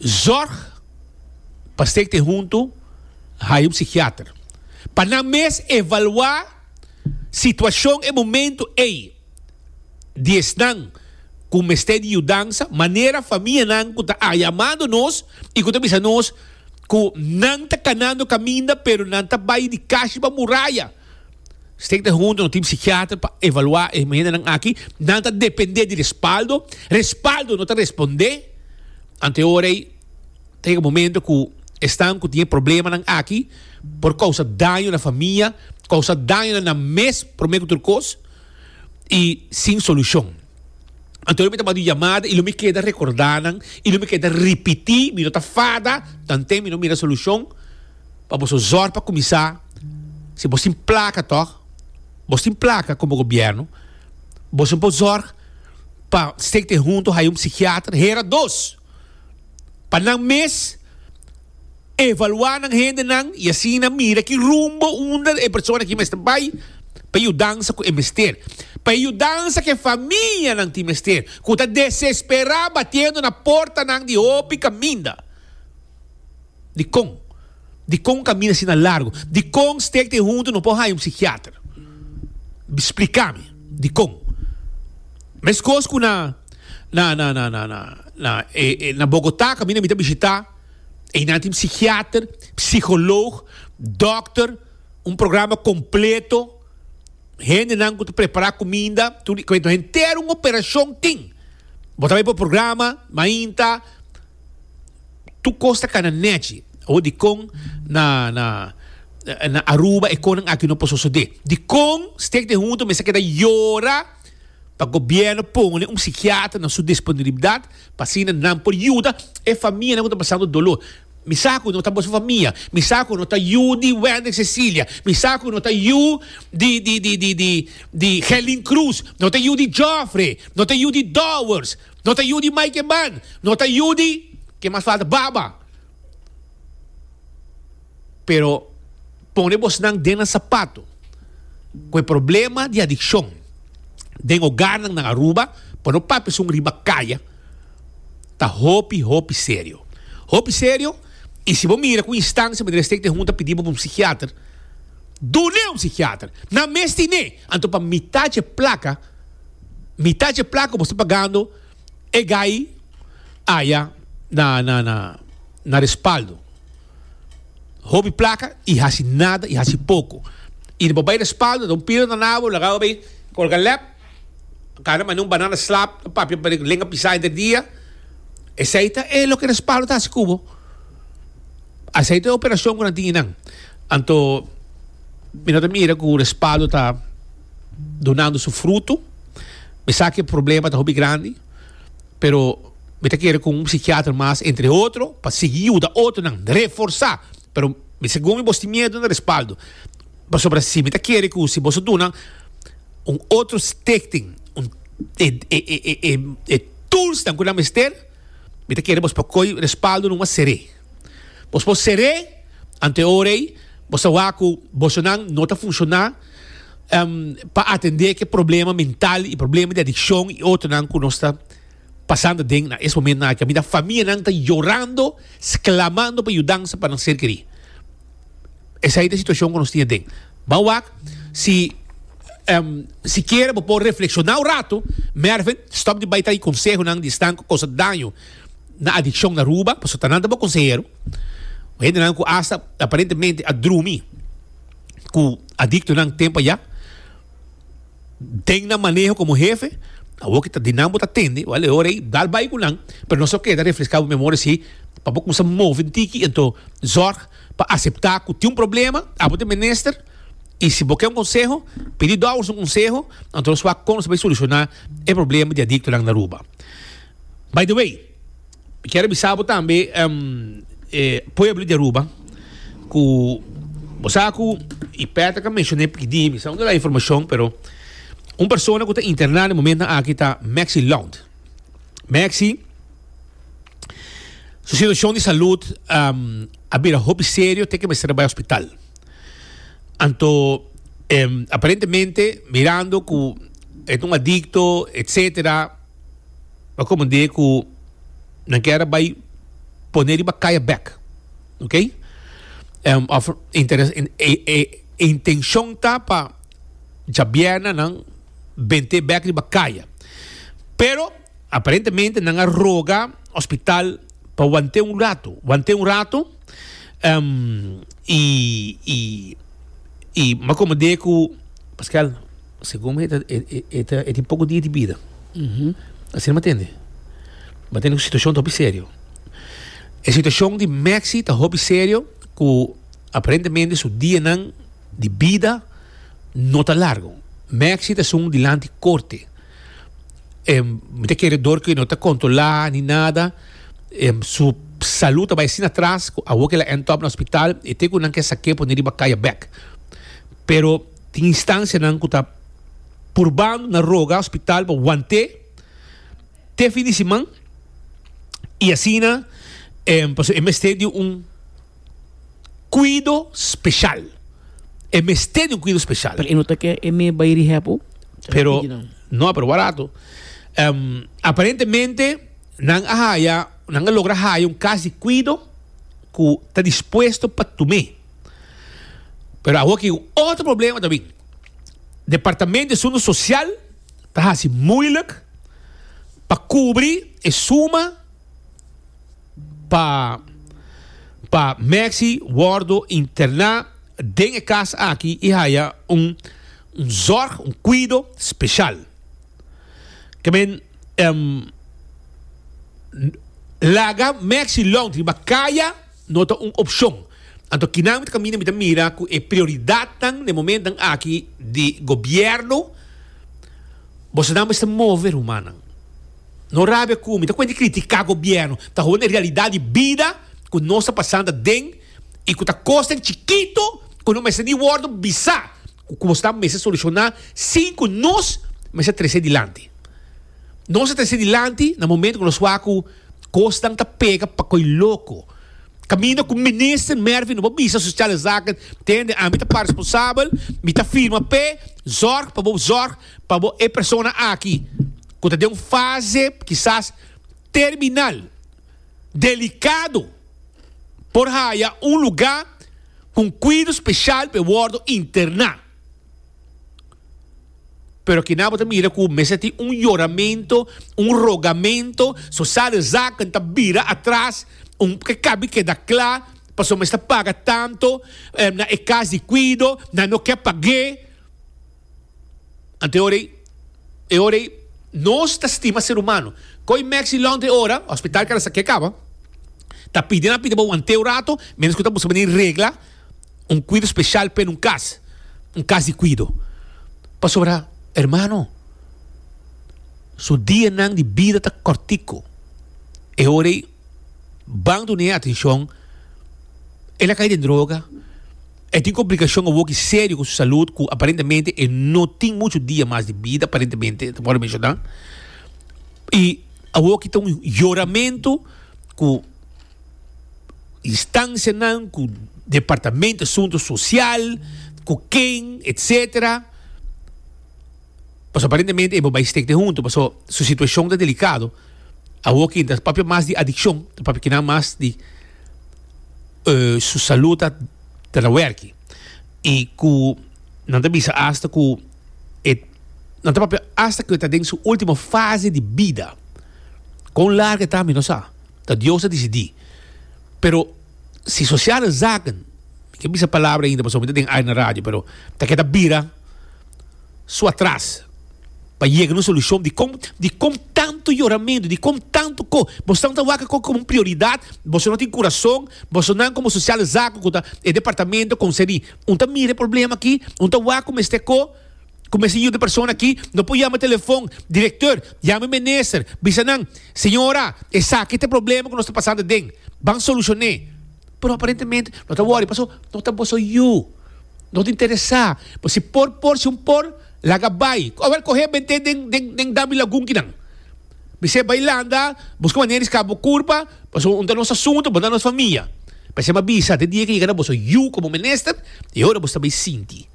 zorg pa stekte hunto haya un psikiater pa nan mes evaluá situashon e momento ei di esnan ku mester di yudansa, manera famianan ku ta a yamando nos i ku ta bisa nos ku nan ta kanando kaminda pero nan ta bai di kashi pa muraya. Stekte hunto no tin psikiater pa evaluá e hendenan aki, nan ta dependé di respaldo, respaldo no ta respondé, anto e ora ei Ta yega momento ku esnan ku tin e problemanan aki por kousa daño na famia, kousa daño na nan mes promé ku tur kos i sin solushon. Anto lo mi ta manda un yamada i lo mi keda rekordá nan i lo mi keda ripití, mi no ta fada tanten mi no mira solushon pa boso zòrg pa kuminsá. Si bos tin plaka tòg, bos tin plaka komo gobièrnu, boso por zòrg pa stekte huntu haya un psikiater, hera dos. pa nan mes evaluá nan hendenan i asina mira ki rumbo unda e persona aki mester bai pa e yudansa ku e mester, pa e yudansa ku e famianan tin mester, ku ta desesperá batiendo na portanan di hopi kaminda. Dikon? Dikon kaminda asina largu? Dikon stek den huntu no por haña un psikiater? Splika mi, dikon? Meskos ku na. Na na na na na na e e na Bogotá kaminda mi ta bishitá einan tin psikiater, psikoloog, dòkter, un programa kompleto, hendenan ku ta prepará kuminda, tur di kuento henter un operashon tin. Bo ta bai pa programa mainta, tur kos ta kana nèchi. Awor dikon na na na Aruba e konan aki no por sosodé? Dikon Stichting Hunto mester keda yora pa gobierno pone un psikiatra na su disponibilidad pa asina nan por yuda e famianan ku ta pasando dolor. Mi sa ku no ta boso famia, mi sa ku no ta yu di Wendrick Cecilia, mi sa ku no ta yu di di di di di di Gerlin Cruz, no ta yu di Geoffrey, no ta yu di Dowers, no ta yu di Mike Eman, no ta yu di, ke mas falta, Baba. Pero pone bosnan den nan sapato ku e problema di adikshon den hogarnan na Aruba, pa no papia esun riba kaya, ta hopi hopi serio. Hopi serio y si bo mira ku instancia manera estek den hunta pidi bo pa un psikiater, dun'e un psikiater. Nan mes tine. Anto pa mitad dje plaka, mitad dje plaka bo sta pagando e gai aya na na na na respaldo. Hopi plaka y haci nada y haci poco. Y bo bay respaldo, ta un piro na nabo, laga bo bay colga lep, cana manda un banana slap, ta papia pa lenga pisa henter dia. Esey ta e loke respaldo ta haci cu bo. Esey ta e operacion cu nan tin eynan. Anto mi no ta mira cu respaldo ta dunando su fruto. Mi sa cu e problema ta hopi grandi. Pero mi ta kere ku un psikiater mas entre otro pa sigui yuda otronan, reforsá. Pero mi segun mi bos tin miedu na respaldo. Pasobra si mi ta kere ku si boso duna un otro stichting un e e e e e toolsnan ku nan mester, mi ta kere bos por koy respaldo numa ser'é. Bos por ser'é, ante ora ei bos ta wak ku bosonan no ta funshoná. pa atendé ku e problema mental i problema di adikshon i otronan ku nos ta pasando den na es momentonan aki. Kaminda famianan ta yorando, sklamando pa yudansa pa nan ser kerí. Esei ta e situashon ku nos tin aden. Ban wak si sikiera bo por reflekshoná un ratu, Mervin, stòp di bai trae konsehonan di esnan ku kousa daño na adikshon na Aruba, pasobra ta nan ta bo konsehero. Hendenan ku asta aparentemente a drumi. ku adiktonan tempu ayá den nan maneho komo hefe, awor ki ta di nan bo ta tende, wèl e ora ei dal bai ku nan, pero nos a keda refreská bo memoria si pa bo kumsa move un tiki, anto zòrg pa aseptá ku tin un problema, abo ta e minister i si bo ke un konseho, pidi dòkter un konseho, anto nos wak kon nos ta bai solushoná e problema di adiktonan na Aruba. By the way. Mi kier a bisa bo tambe e pueblo di Aruba ku bo sa ku i Patrick a menshoné pidi mi sa unda la informashon pero un persona ku ta interná na e momentonan aki ta Maxi Lount. Maxi su situashon di salud a bira hopi serio te ke mester a bai hospital. Anto aparentemente mirando ku e ta un adikto etcetera. A komand'é ku nan kier a bai pone riba kaya bèk. Ok? Òf interes e e intenshon ta pa djabièrnè nan bent'é bèk riba kaya. Pero aparentemente nan a roga hospital pa want'é un ratu, want'é un ratu i i i m'a komand'é ku Pascal. Segun mi e ta e tin poko dia di bida. Asina mi a tende. Mi a tende ku situashon ta hopi serio. E situashon di Maxi ta hopi serio ku aparentemente su dianan di bida no ta largo. Maxi ta esun dilanti korte. Mi ta kere dor ku e no ta kontrolá ni nada su salud ta bai asina atras ku awor ku el a end up na hospital e te ku nan ke sak'é pone riba kaya bèk. Pero. Tin instancianan cu ta purbando na roga hospital pa want'é te fin di siman y asina pasobra e mester di un cuido special. E mester di un cuido special. Pero e no ta ke e me bay rehab o? Pero no, pero barato. Aparentemente nan a haya, nan a logra haya un cas di cuido cu ta dispuesto pa tum'é. Pero awor ki un otro problema ta bin. Departamento di Asunto Social ta hasi moeilijk. Pa kubri e suma pa pa Maxi wordo interna den e kas aki y haya un un zorg, un cuido special. Ke men laga Maxi Long riba kaya no ta un opcion. Anto kinan mi ta caminda mi ta mira cu e prioridadnan den momentonan aki di gobierno bosonan mester move rumannan. No rabia cu mi ta cuenta di critica gobierno, ta hoor e realidad di bida cu nos ta pasando aden y cu ta cosnan chikito cu no mester ni wordo bisa cu bosonan mester soluciona sin cu nos mester trece dilanti. Nos a trece dilanti na momento cu nos wak cu cosnan ta pega pa coy loco. Caminda cu minister Mervin no por bisa Sociale Zaken, tende ami ta pa responsabel, mi ta firma p'e, zorg pa bo zorg pa bo e persona aki cu ta den un fase kisas terminal, delicado, por haya un luga cu un cuido special p'e wordo interna. Pero kinan bo ta mira cu mester tin un yoramento, un rogamento, Sociale Zaken ta bira atras, un ke kabi keda kla, pasobra mester paga tanto na e cas di cuido, nan no ke pag'é. Anto e ora ei, e ora ei nos ta stima ser humano. Koe Maxi Laundry ora, hospital kara sa ke kaba, ta pidi nan pidi bo want'é un rato, mientras ku ta buska manera di regla un kuido speshal p'e un kas, un kas di kuido. Pasobra, hermano, su dianan di bida ta kòrtiku. E ora ei ban dun'é atenshon, el a kai den droga. E tin komplikashon awoki serio ku su salud ku aparentemente e no tin muchu dia mas di bida aparentemente ta por menshoná. I awoki ta un yoramentu ku instansianan, ku departamento asuntu sosial, ku ken etsetera. Pasobra aparentemente e bo bai stek den huntu pasobra su situashon ta delikado. Awoki ta papia mas di adikshon, ta papia kinan mas di su salud ta ta na werki. I ku nan ta bisa asta ku e nan ta papia asta ku e ta den su ultimo fase di bida. Kon largu e ta mi no sa, ta Dios a disidí. Pero si sociale zaken, mi ke bisa palabra ainda pasobra mi ta den aire na radio, pero ta keda bira. su atras pa yega na un solucion dikon dikon tanto yoramento dikon tanto ko boso ta wak ko komo un prioridad boso no tin kurason boso nan komo sociale zaken ku ta e departamento konserní un ta mira e problema aki un ta wak ku mester ko ku mester yuda e persona aki no por yama telefon directeur yama e minister bisa nan señora esaki ta e problema ku nos ta pasando aden ban solucion'é pero aparentemente no ta wòri pasobra no ta boso yu. No ta interesá. Bo si por por, si un por, laga bai. Awel kohe bent'é den den den dam di lagun kinan. Bis'é bai landa, buska manera di skapa bo kurpa, pasobra un ta nos asuntu, bo ta nos famia. P'esei mi a bisa, te dia ke yega na boso yu komo minister, e ora bo ta bai sinti.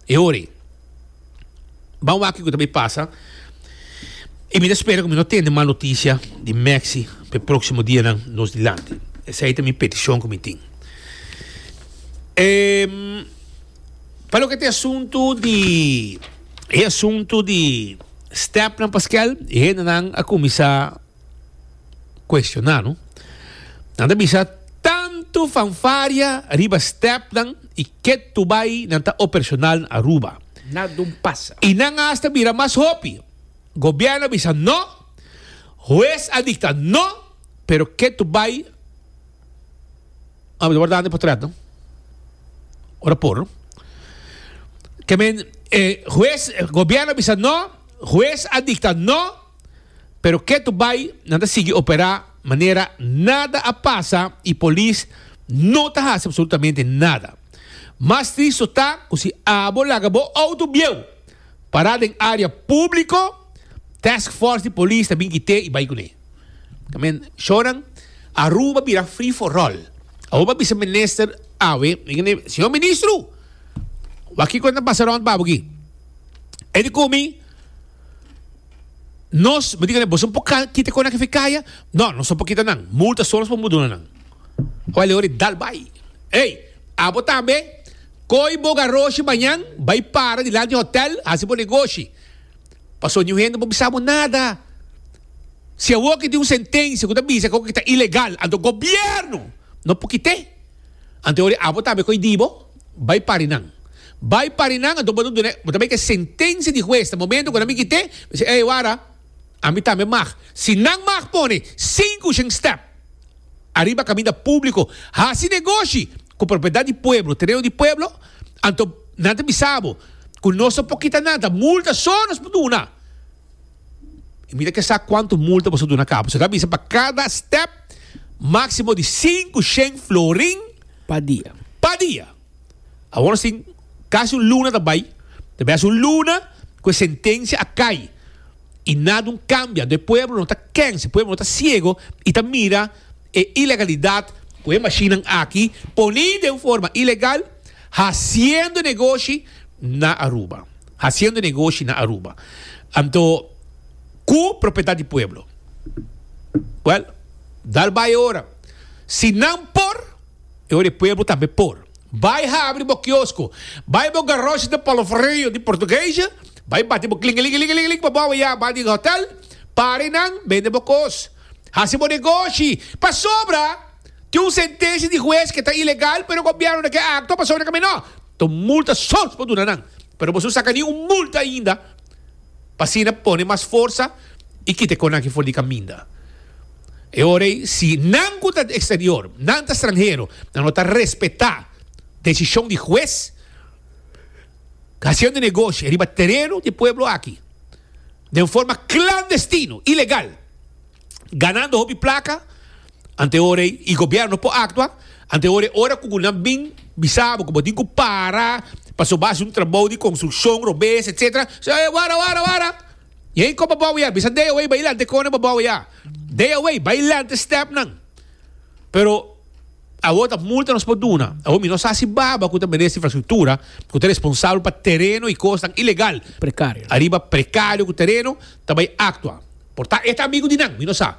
E ora ei. Ban wak kiko ta bai pasa. I mi ta spera ku mi no tende mal notisia di Maxi pa e próksimo dianan nos dilanti. Esei ta mi petishon ku mi tin. Pa loke ta e asuntu di e asuntu di stèpnan Paskel, e hendenan a kuminsá kuestioná no. Nan ta bisa tantu fanfaria riba stèpnan i ketu bai nan ta operashonal na Aruba. Nada un pasa. I nan asta bira mas hopi. Gobièrnu a bisa no, hues a dikta no, pero ketu bai. Ah, mi ta wardando e portret no. Ora por no. Ke men e hues, gobièrnu a bisa no, hues a dikta no, pero ketu bai nan ta sigui operá manera nada a pasa i polis no ta hasi absolutamente nada. Mas tristo ta ku si abo laga bo outo bieu pará den área públiko, task force di polis ta bin kit'é i bai kuné. Amen. Shonan, Aruba bira free for all. Aruba bisa minister awe, señor ministro, wak kiko ta pasa rond pa abo aki. E di ku mi, nos, mi di boso por kita kon aki fi kaya? No, nos no por kita nan. Multa so nos por duna nan. Awel e ora dal bai. Ey, abo tambe, koi bo garoshi mañan, bai para dilanti hotel, hasi bo negoshi. Pasobra niun hende no por bisa bo nada. Si awor ki tin un sentencia cu ta bisa cu ta ilegal, anto gobierno no por kit'e. Anto ora abo tambe coy di bo, bay pari nan. Bay pari nan, anto bo ta duna, bo ta bay cu e sentencia di huez na momento cu nan bin kit'e, bo bisa, ey wara, ami tambe mag. Si nan mag pone 500 step ariba caminda publico, haci negoshi cu propiedad di pueblo, tereno di pueblo, anto nan ta bisa bo cu nos no por kita nada, multa so nos por duna. I mi ta ke sa kuantu multa boso duna kaba. Boso ta bisa pa kada step máksimo di 500 florin Pa dia. pa dia. Awor nos tin kasi un luna ta bai. Ta bai hasi un luna ku e sentensia a kai i nada un kambia. Anto e pueblo no ta kens, e pueblo no ta siego i ta mira e ilegalidat ku e mashinnan aki poni den forma ilegal hasiendo negoshi na Aruba. Haciendo negoshi na Aruba. Anto cu propiedad di pueblo. Well, dal bay e ora. Si nan por, e ora e pueblo tambe por. Bay habri bo kiosco, bay bo garoshi de Palo Frio di Portuguese, bay bati bo klingelingelingeling pa bou ya ba di hotel, pare nan, bende bo cos. Haci bo negoshi. Pasobra tin un sentencia di huez cu ta ilegal, pero gobierno no ke actua pasobra nan no. Ta un multa so por duna nan. Pero boso no saca ni un multa ainda pa asina pone mas forsa y kita e conan aki for di caminda. E ora ey si nan cu ta exterior, nan ta stranhero, nan no ta respeta decision di huez, haciendo negoshi riba tereno di pueblo aki den forma clandestino, ilegal, ganando hopi placa, Ante ora ei i gobierno por actua, ante ora ei ora cu nan bin bisa bo cu bo tin cu para pasobra bo haci un trabou di construccion robes etc. Sa e wara wara wara y ei koba bou ya bisa day away bai lanta e kone bo bou ya day away bai lanta e stepnan pero awor ta multa nos por duna awor mi no sa si baba cu ta minister infrastructura cu ta responsabel pa tereno y cosnan ilegal Precario. ariba precario cu tereno ta bai actua por ta e ta amigo di nan mi no sa.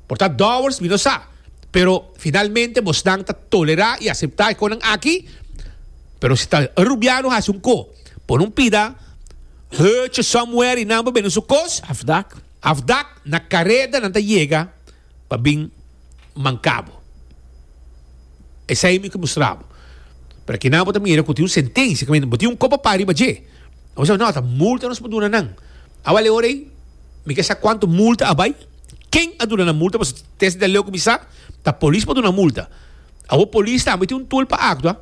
Por ta dowers, mi no sa. Pero finalmente bosnan ta tolerá i aseptá e konan aki. Pero si ta e rubiano hasi un ko, pone un pida heuche somewhere i nan por bende su kos. Afdak. Afdak, na kareda nan ta yega pa bin manka bo. Esei mi ke mustra bo. Pero akinan bo ta mira ku tin un sentensia, bo tin un ko pa para riba dje. Bo sa, no, ta multa nos por duna nan. Awal e ora ei, mi ke sa kuantu multa a bai. Ken a duna nan multa? Pasobra desde di aleu ku mi sa, ta polis por duna multa. Awor polis tambe tin un tool pa aktua,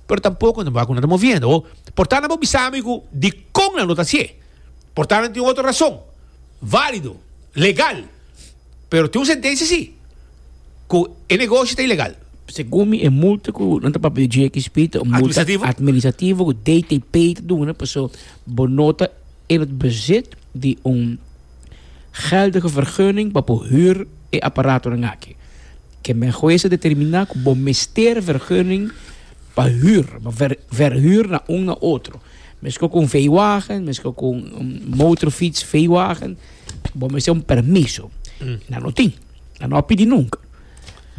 pero tampoko nan wak ku nan ta moviendo. Awor, por ta nan por bisa mi ku dikon nan no ta hasié. Por ta nan tin otro rason, válido, legal, pero tin un sentensia si, ku e negoshi ta ilegal. Segun mi e multa ku nan ta papia di GXP ta un multa administrativo ku DTP ta duna pasobra bo no ta in het bezit di un geldige vergunning pa por huur e aparatonan aki. Ke men hues a determiná ku bo mester vergunning pa huur, pa verhuur na un na otro. Meskos ku un veewagen, meskos ku un motorfiets, veewagen, bo mester un permiso. Nan no tin, nan no a pidi nunka.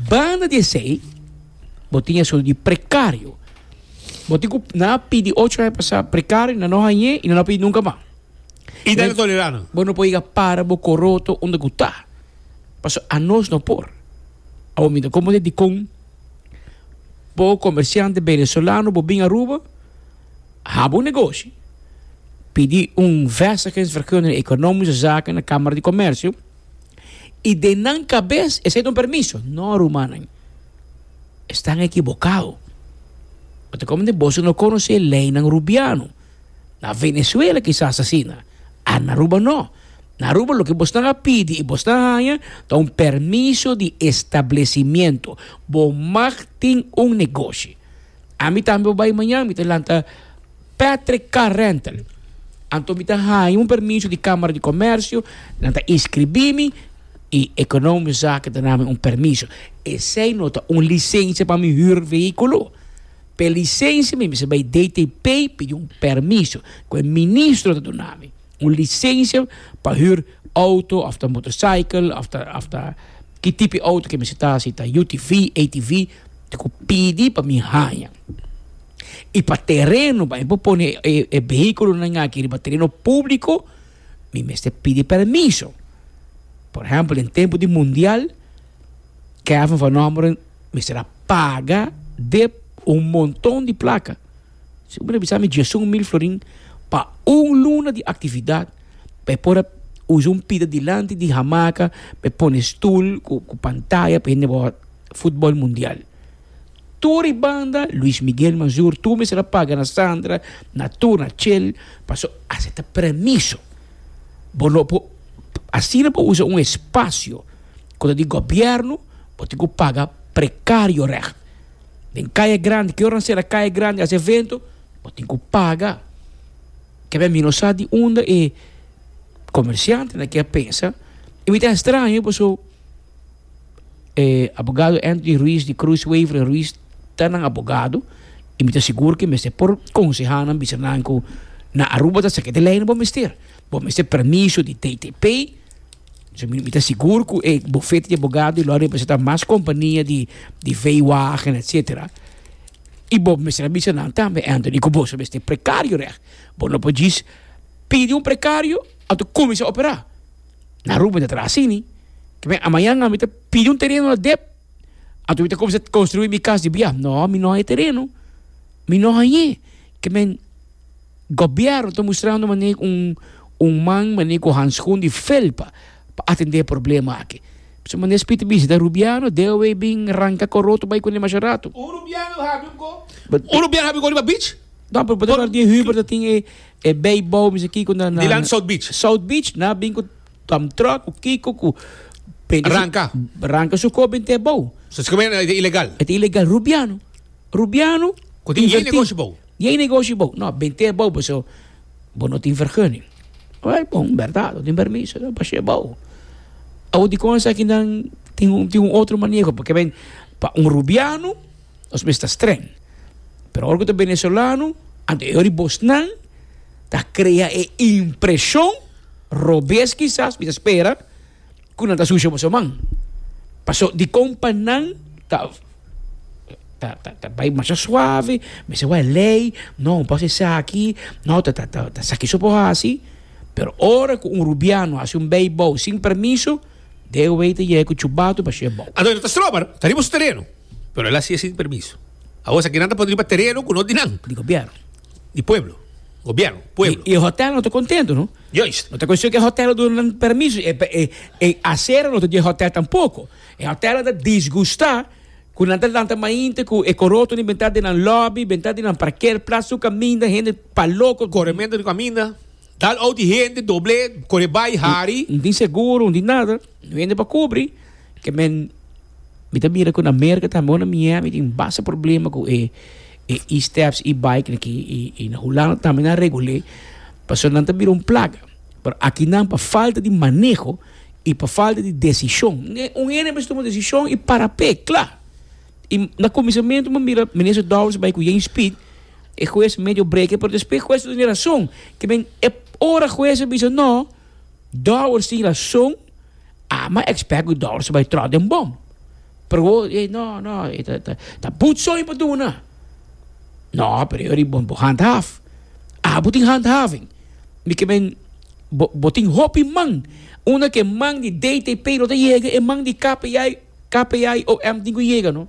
Banda di esei, bo tin esun di prekario. Bo tin ku nan a pidi ocho aña pasá prekario, nan no hañ'é i nan no a pidi nunka mas. I nan ta tolerá nan. Bo no por yega para bo koroto unda ku ta. Pasobra anos no por. Awor mi ta komprendé dikon bo komersiante venezolano bo bin Aruba haba un negoshi, pidi un vestigingsvergunning economische zaken na Kamara di Komersio i den nan kabes esei ta un permiso. No rumannan, estan ekibokado. Bo ta komprendé boso no konosé leinan rubiano. Na Venezuela kisas asina, a na Aruba no. Na Aruba loke bosnan a pidi i bosnan a haña ta un permiso di establecimiento. Bo mag tin un negoshi. Ami tambe bo bai mañan mi ta lanta Patrick Car Rental. Anto mi ta haña un permiso di Camara di Comercio, nan ta inscribi mi i Economische Zaken ta dami un permiso. Esei no ta un licencia pa mi huur vehiculo. P'e lisensia mi mester bai DTP pidi un permiso ku e ministro ta duna mi. Un lisensia pa hür outo òf ta motorcycle òf ta òf ta ki tipo di outo ku mester ta si ta UTV, ATV ta ku pidi pa mi haña. I pa tereno pa mi por pone e e vehíkulonan aki riba tereno públiko mi mester pidi permiso. Por ehempel, den tempo di mundial, Kevin van Ommeren mester a paga dep un monton di placa. Si bo bisa mi 11.000 florin pa un luna di actividad pa e por a usa un pida dilanti di hamaca pa e pone stoel cu pantaya pa hende wak futbol mundial. Tur e banda Luis Miguel Mazur tur mester a paga na Sandra, na tur, na Chel paso acepta permiso. Bo no por asina bo usa un espacio cu ta di gobierno bo tin cu paga precario recht. Den Kaya Grandi, ke ora nan sera Kaya Grandi hasi evento, bo tin ku paga. Kebé mi no sa di unda e komersiantenan ke a pensa. I mi ta estraño paso e abogado Anthony Ruiz di Cruz Wever en Ruiz ta nan abogado i mi ta sigur ke mester por konsehá nan bisa nan ku na Aruba ta esaki ta e lei bo mester. Bo mester permiso di TTP. So mi ta sigur ku e bufete di abogado lo a representa mas kompania di di veewagen etcetera. I bo mester a bisa nan tambe Anthony ku boso mester prekario règt. Bo no por djis pidi un prekario anto kuminsá operá. Na Aruba ta traha asini. Ke men amañan ami ta pidi un tereno na dep anto mi ta kuminsá konstruí mi kas di bia. No, mi no haña tereno. Mi no hañ'é. Ke men. Gobierno ta mustrando manera un un man manera cu handschoen di felpa pa atende e problema aki. Pasobra manera Speed ta bisa ta Rubiano debe bin ranca coroto bay cune masha rato. Un Rubiano habi un go. Un Rubiano habi go riba beach? No, pero por ejemplo di Hubert ta tin e e bijbouw mi sa kico na na Dilanti South Beach. South Beach na bin cu dump truck cu kico cu Ranca. Ranca su co bin te bou. So esaki e ta ilegal. E ta ilegal. Rubiano. Rubiano. Cu tin yen negoshi bou. Yen negoshi bou. No, bente bou paso bo no tin vergunning. Wel, bon, berdad, no tin permiso, no pas'e bou. Awor dikon esakinan tin un tin un otro maneho? Porque ben, pa un rubiano nos mester ta streng. Pero ora ku ta venezolano, anto e ora di bosnan ta krea e impreshon robes kisas, mi ta spera, ku nan ta susha boso man. Paso dikon pa nan ta ta ta ta bai masha suave, mester wak lei, no un pas esaki, no ta ta ta esaki so por hasi. Pero ora ku un rubiano hasi un beibou sin permiso, deo wei ta yega ku chubato pa shia bou. Anto e no ta stroba, ta riba su tereno, pero el hasié sin permiso. Awor esaki nan ta pone riba tereno ku no di nan. Di gobièrnu. Di pueblo. Gobièrnu, pueblo. I e hotel no ta kontento, no? Juist. No ta cuestion cu e hotel a duna nan permiso, e, e, e acera no ta di e hotel tampoco. E hotel a ta disgusta cu nan ta lanta mainta cu e coroto ni benta den nan lobby, benta den nan parkeerplaats, su caminda, hende pa loco. Coremento di caminda, dal out di hende, doble, core bay, hari. No tin seguro, no tin nada, no hende pa cubri. Ke men, mi ta mira cu na Merca tambe, o na Miami tin basta problema cu e e e-steps, e-bike aki y, y na Hulanda tambe nan regul'é, pasobra nan ta bira un plaga. Pero akinan pa falta di maneho y pa falta di desishon, un hende mester tuma desishon y para p'e, kla. Y na kuminsamentu bo mira minister Dowers bai ku yen speed, e hues medio breke, pero despues hues ta tene rason. Ke men e ora hues a bisa no, Dowers tin rason, ama expect ku Dowers ta bai tròt den bom. Pero bo, ey, no, no, e ta, ta, ta boetsooi pa duna. No, pero yo bo, bo handhaaf. Abo tin handhaving. Mi ke men, bo, bo tin hopi man. Unda ke man di DTP no ta yega, e man di KPI, KPIOM tin ku yega, no?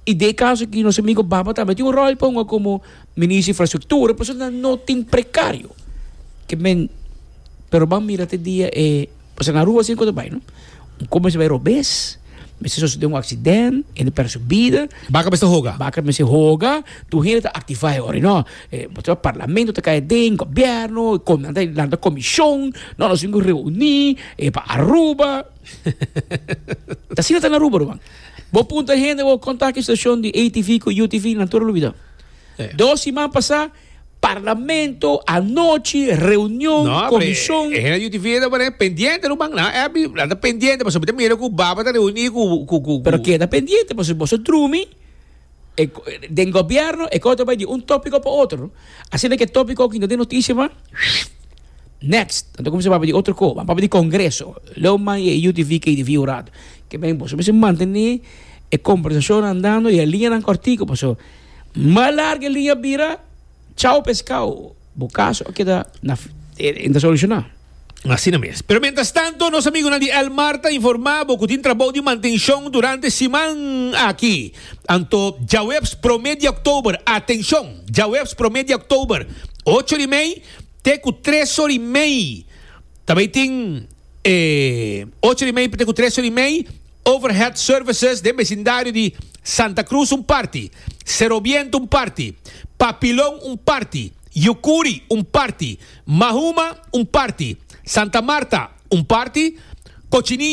I den e kaso aki nos amigo Baba tambe tin un ròl pa hunga komo minister di infrastruktura, pasobra nan no tin prekario. Ke men, pero ban mira te dia e, pasobra na Aruba asina ku ta bai, no? Un kos mester bai robes, mester sosode un aksident, hende pèrdè su bida. Baka mester hoga. Baka mester hoga, tur hende ta aktivá e ora, no? Pasobra parlamento ta kai aden, gobièrnu, nan ta lanta komishon, no, nos tin ku reuní pa Aruba. Ta asina ta na Aruba, ruman. Bo puntra hende bo konta ki situashon di ATV ku UTV nan tur a lubida. Dos siman pasá parlamento anochi reunion No, komishon. E hende di UTV ta pone pendiente ruman. Nan a bi nan ta pendiente pasobra mi ta mira ku baba ta reuní ku ku ku. Pero keda pendiente pasobra boso drumi e den gobièrnu e kos ta bai di un tópiko pa otro. Asina ke tópiko aki no den notisia mas. Next, nan ta cuminsa papia di otro co, ban papia di congreso. Leu man e UTV, KTV un rato. Ke ben boso mester mantene e conversacion andando y e liñanan cortico paso mas largo e liña bira, chao pescao, bo caso a keda na, e ta soluciona. Asina mes. Pero mientras tanto, nos amigunan di Elmar ta informá bo ku tin trabou di mantenshon durante siman aki. Anto djaweps promé di òktober, atenshon, djaweps promé di òktober, ocho di mei te ku tres or i mei ta bai tin e ocho di mei te ku tres or i mei overhead services den besindario di Santa Cruz un parti, Sero Biento un parti, Papilon un parti, Yucuri un parti, Mahuma un parti, Santa Marta un parti, Cochinilla.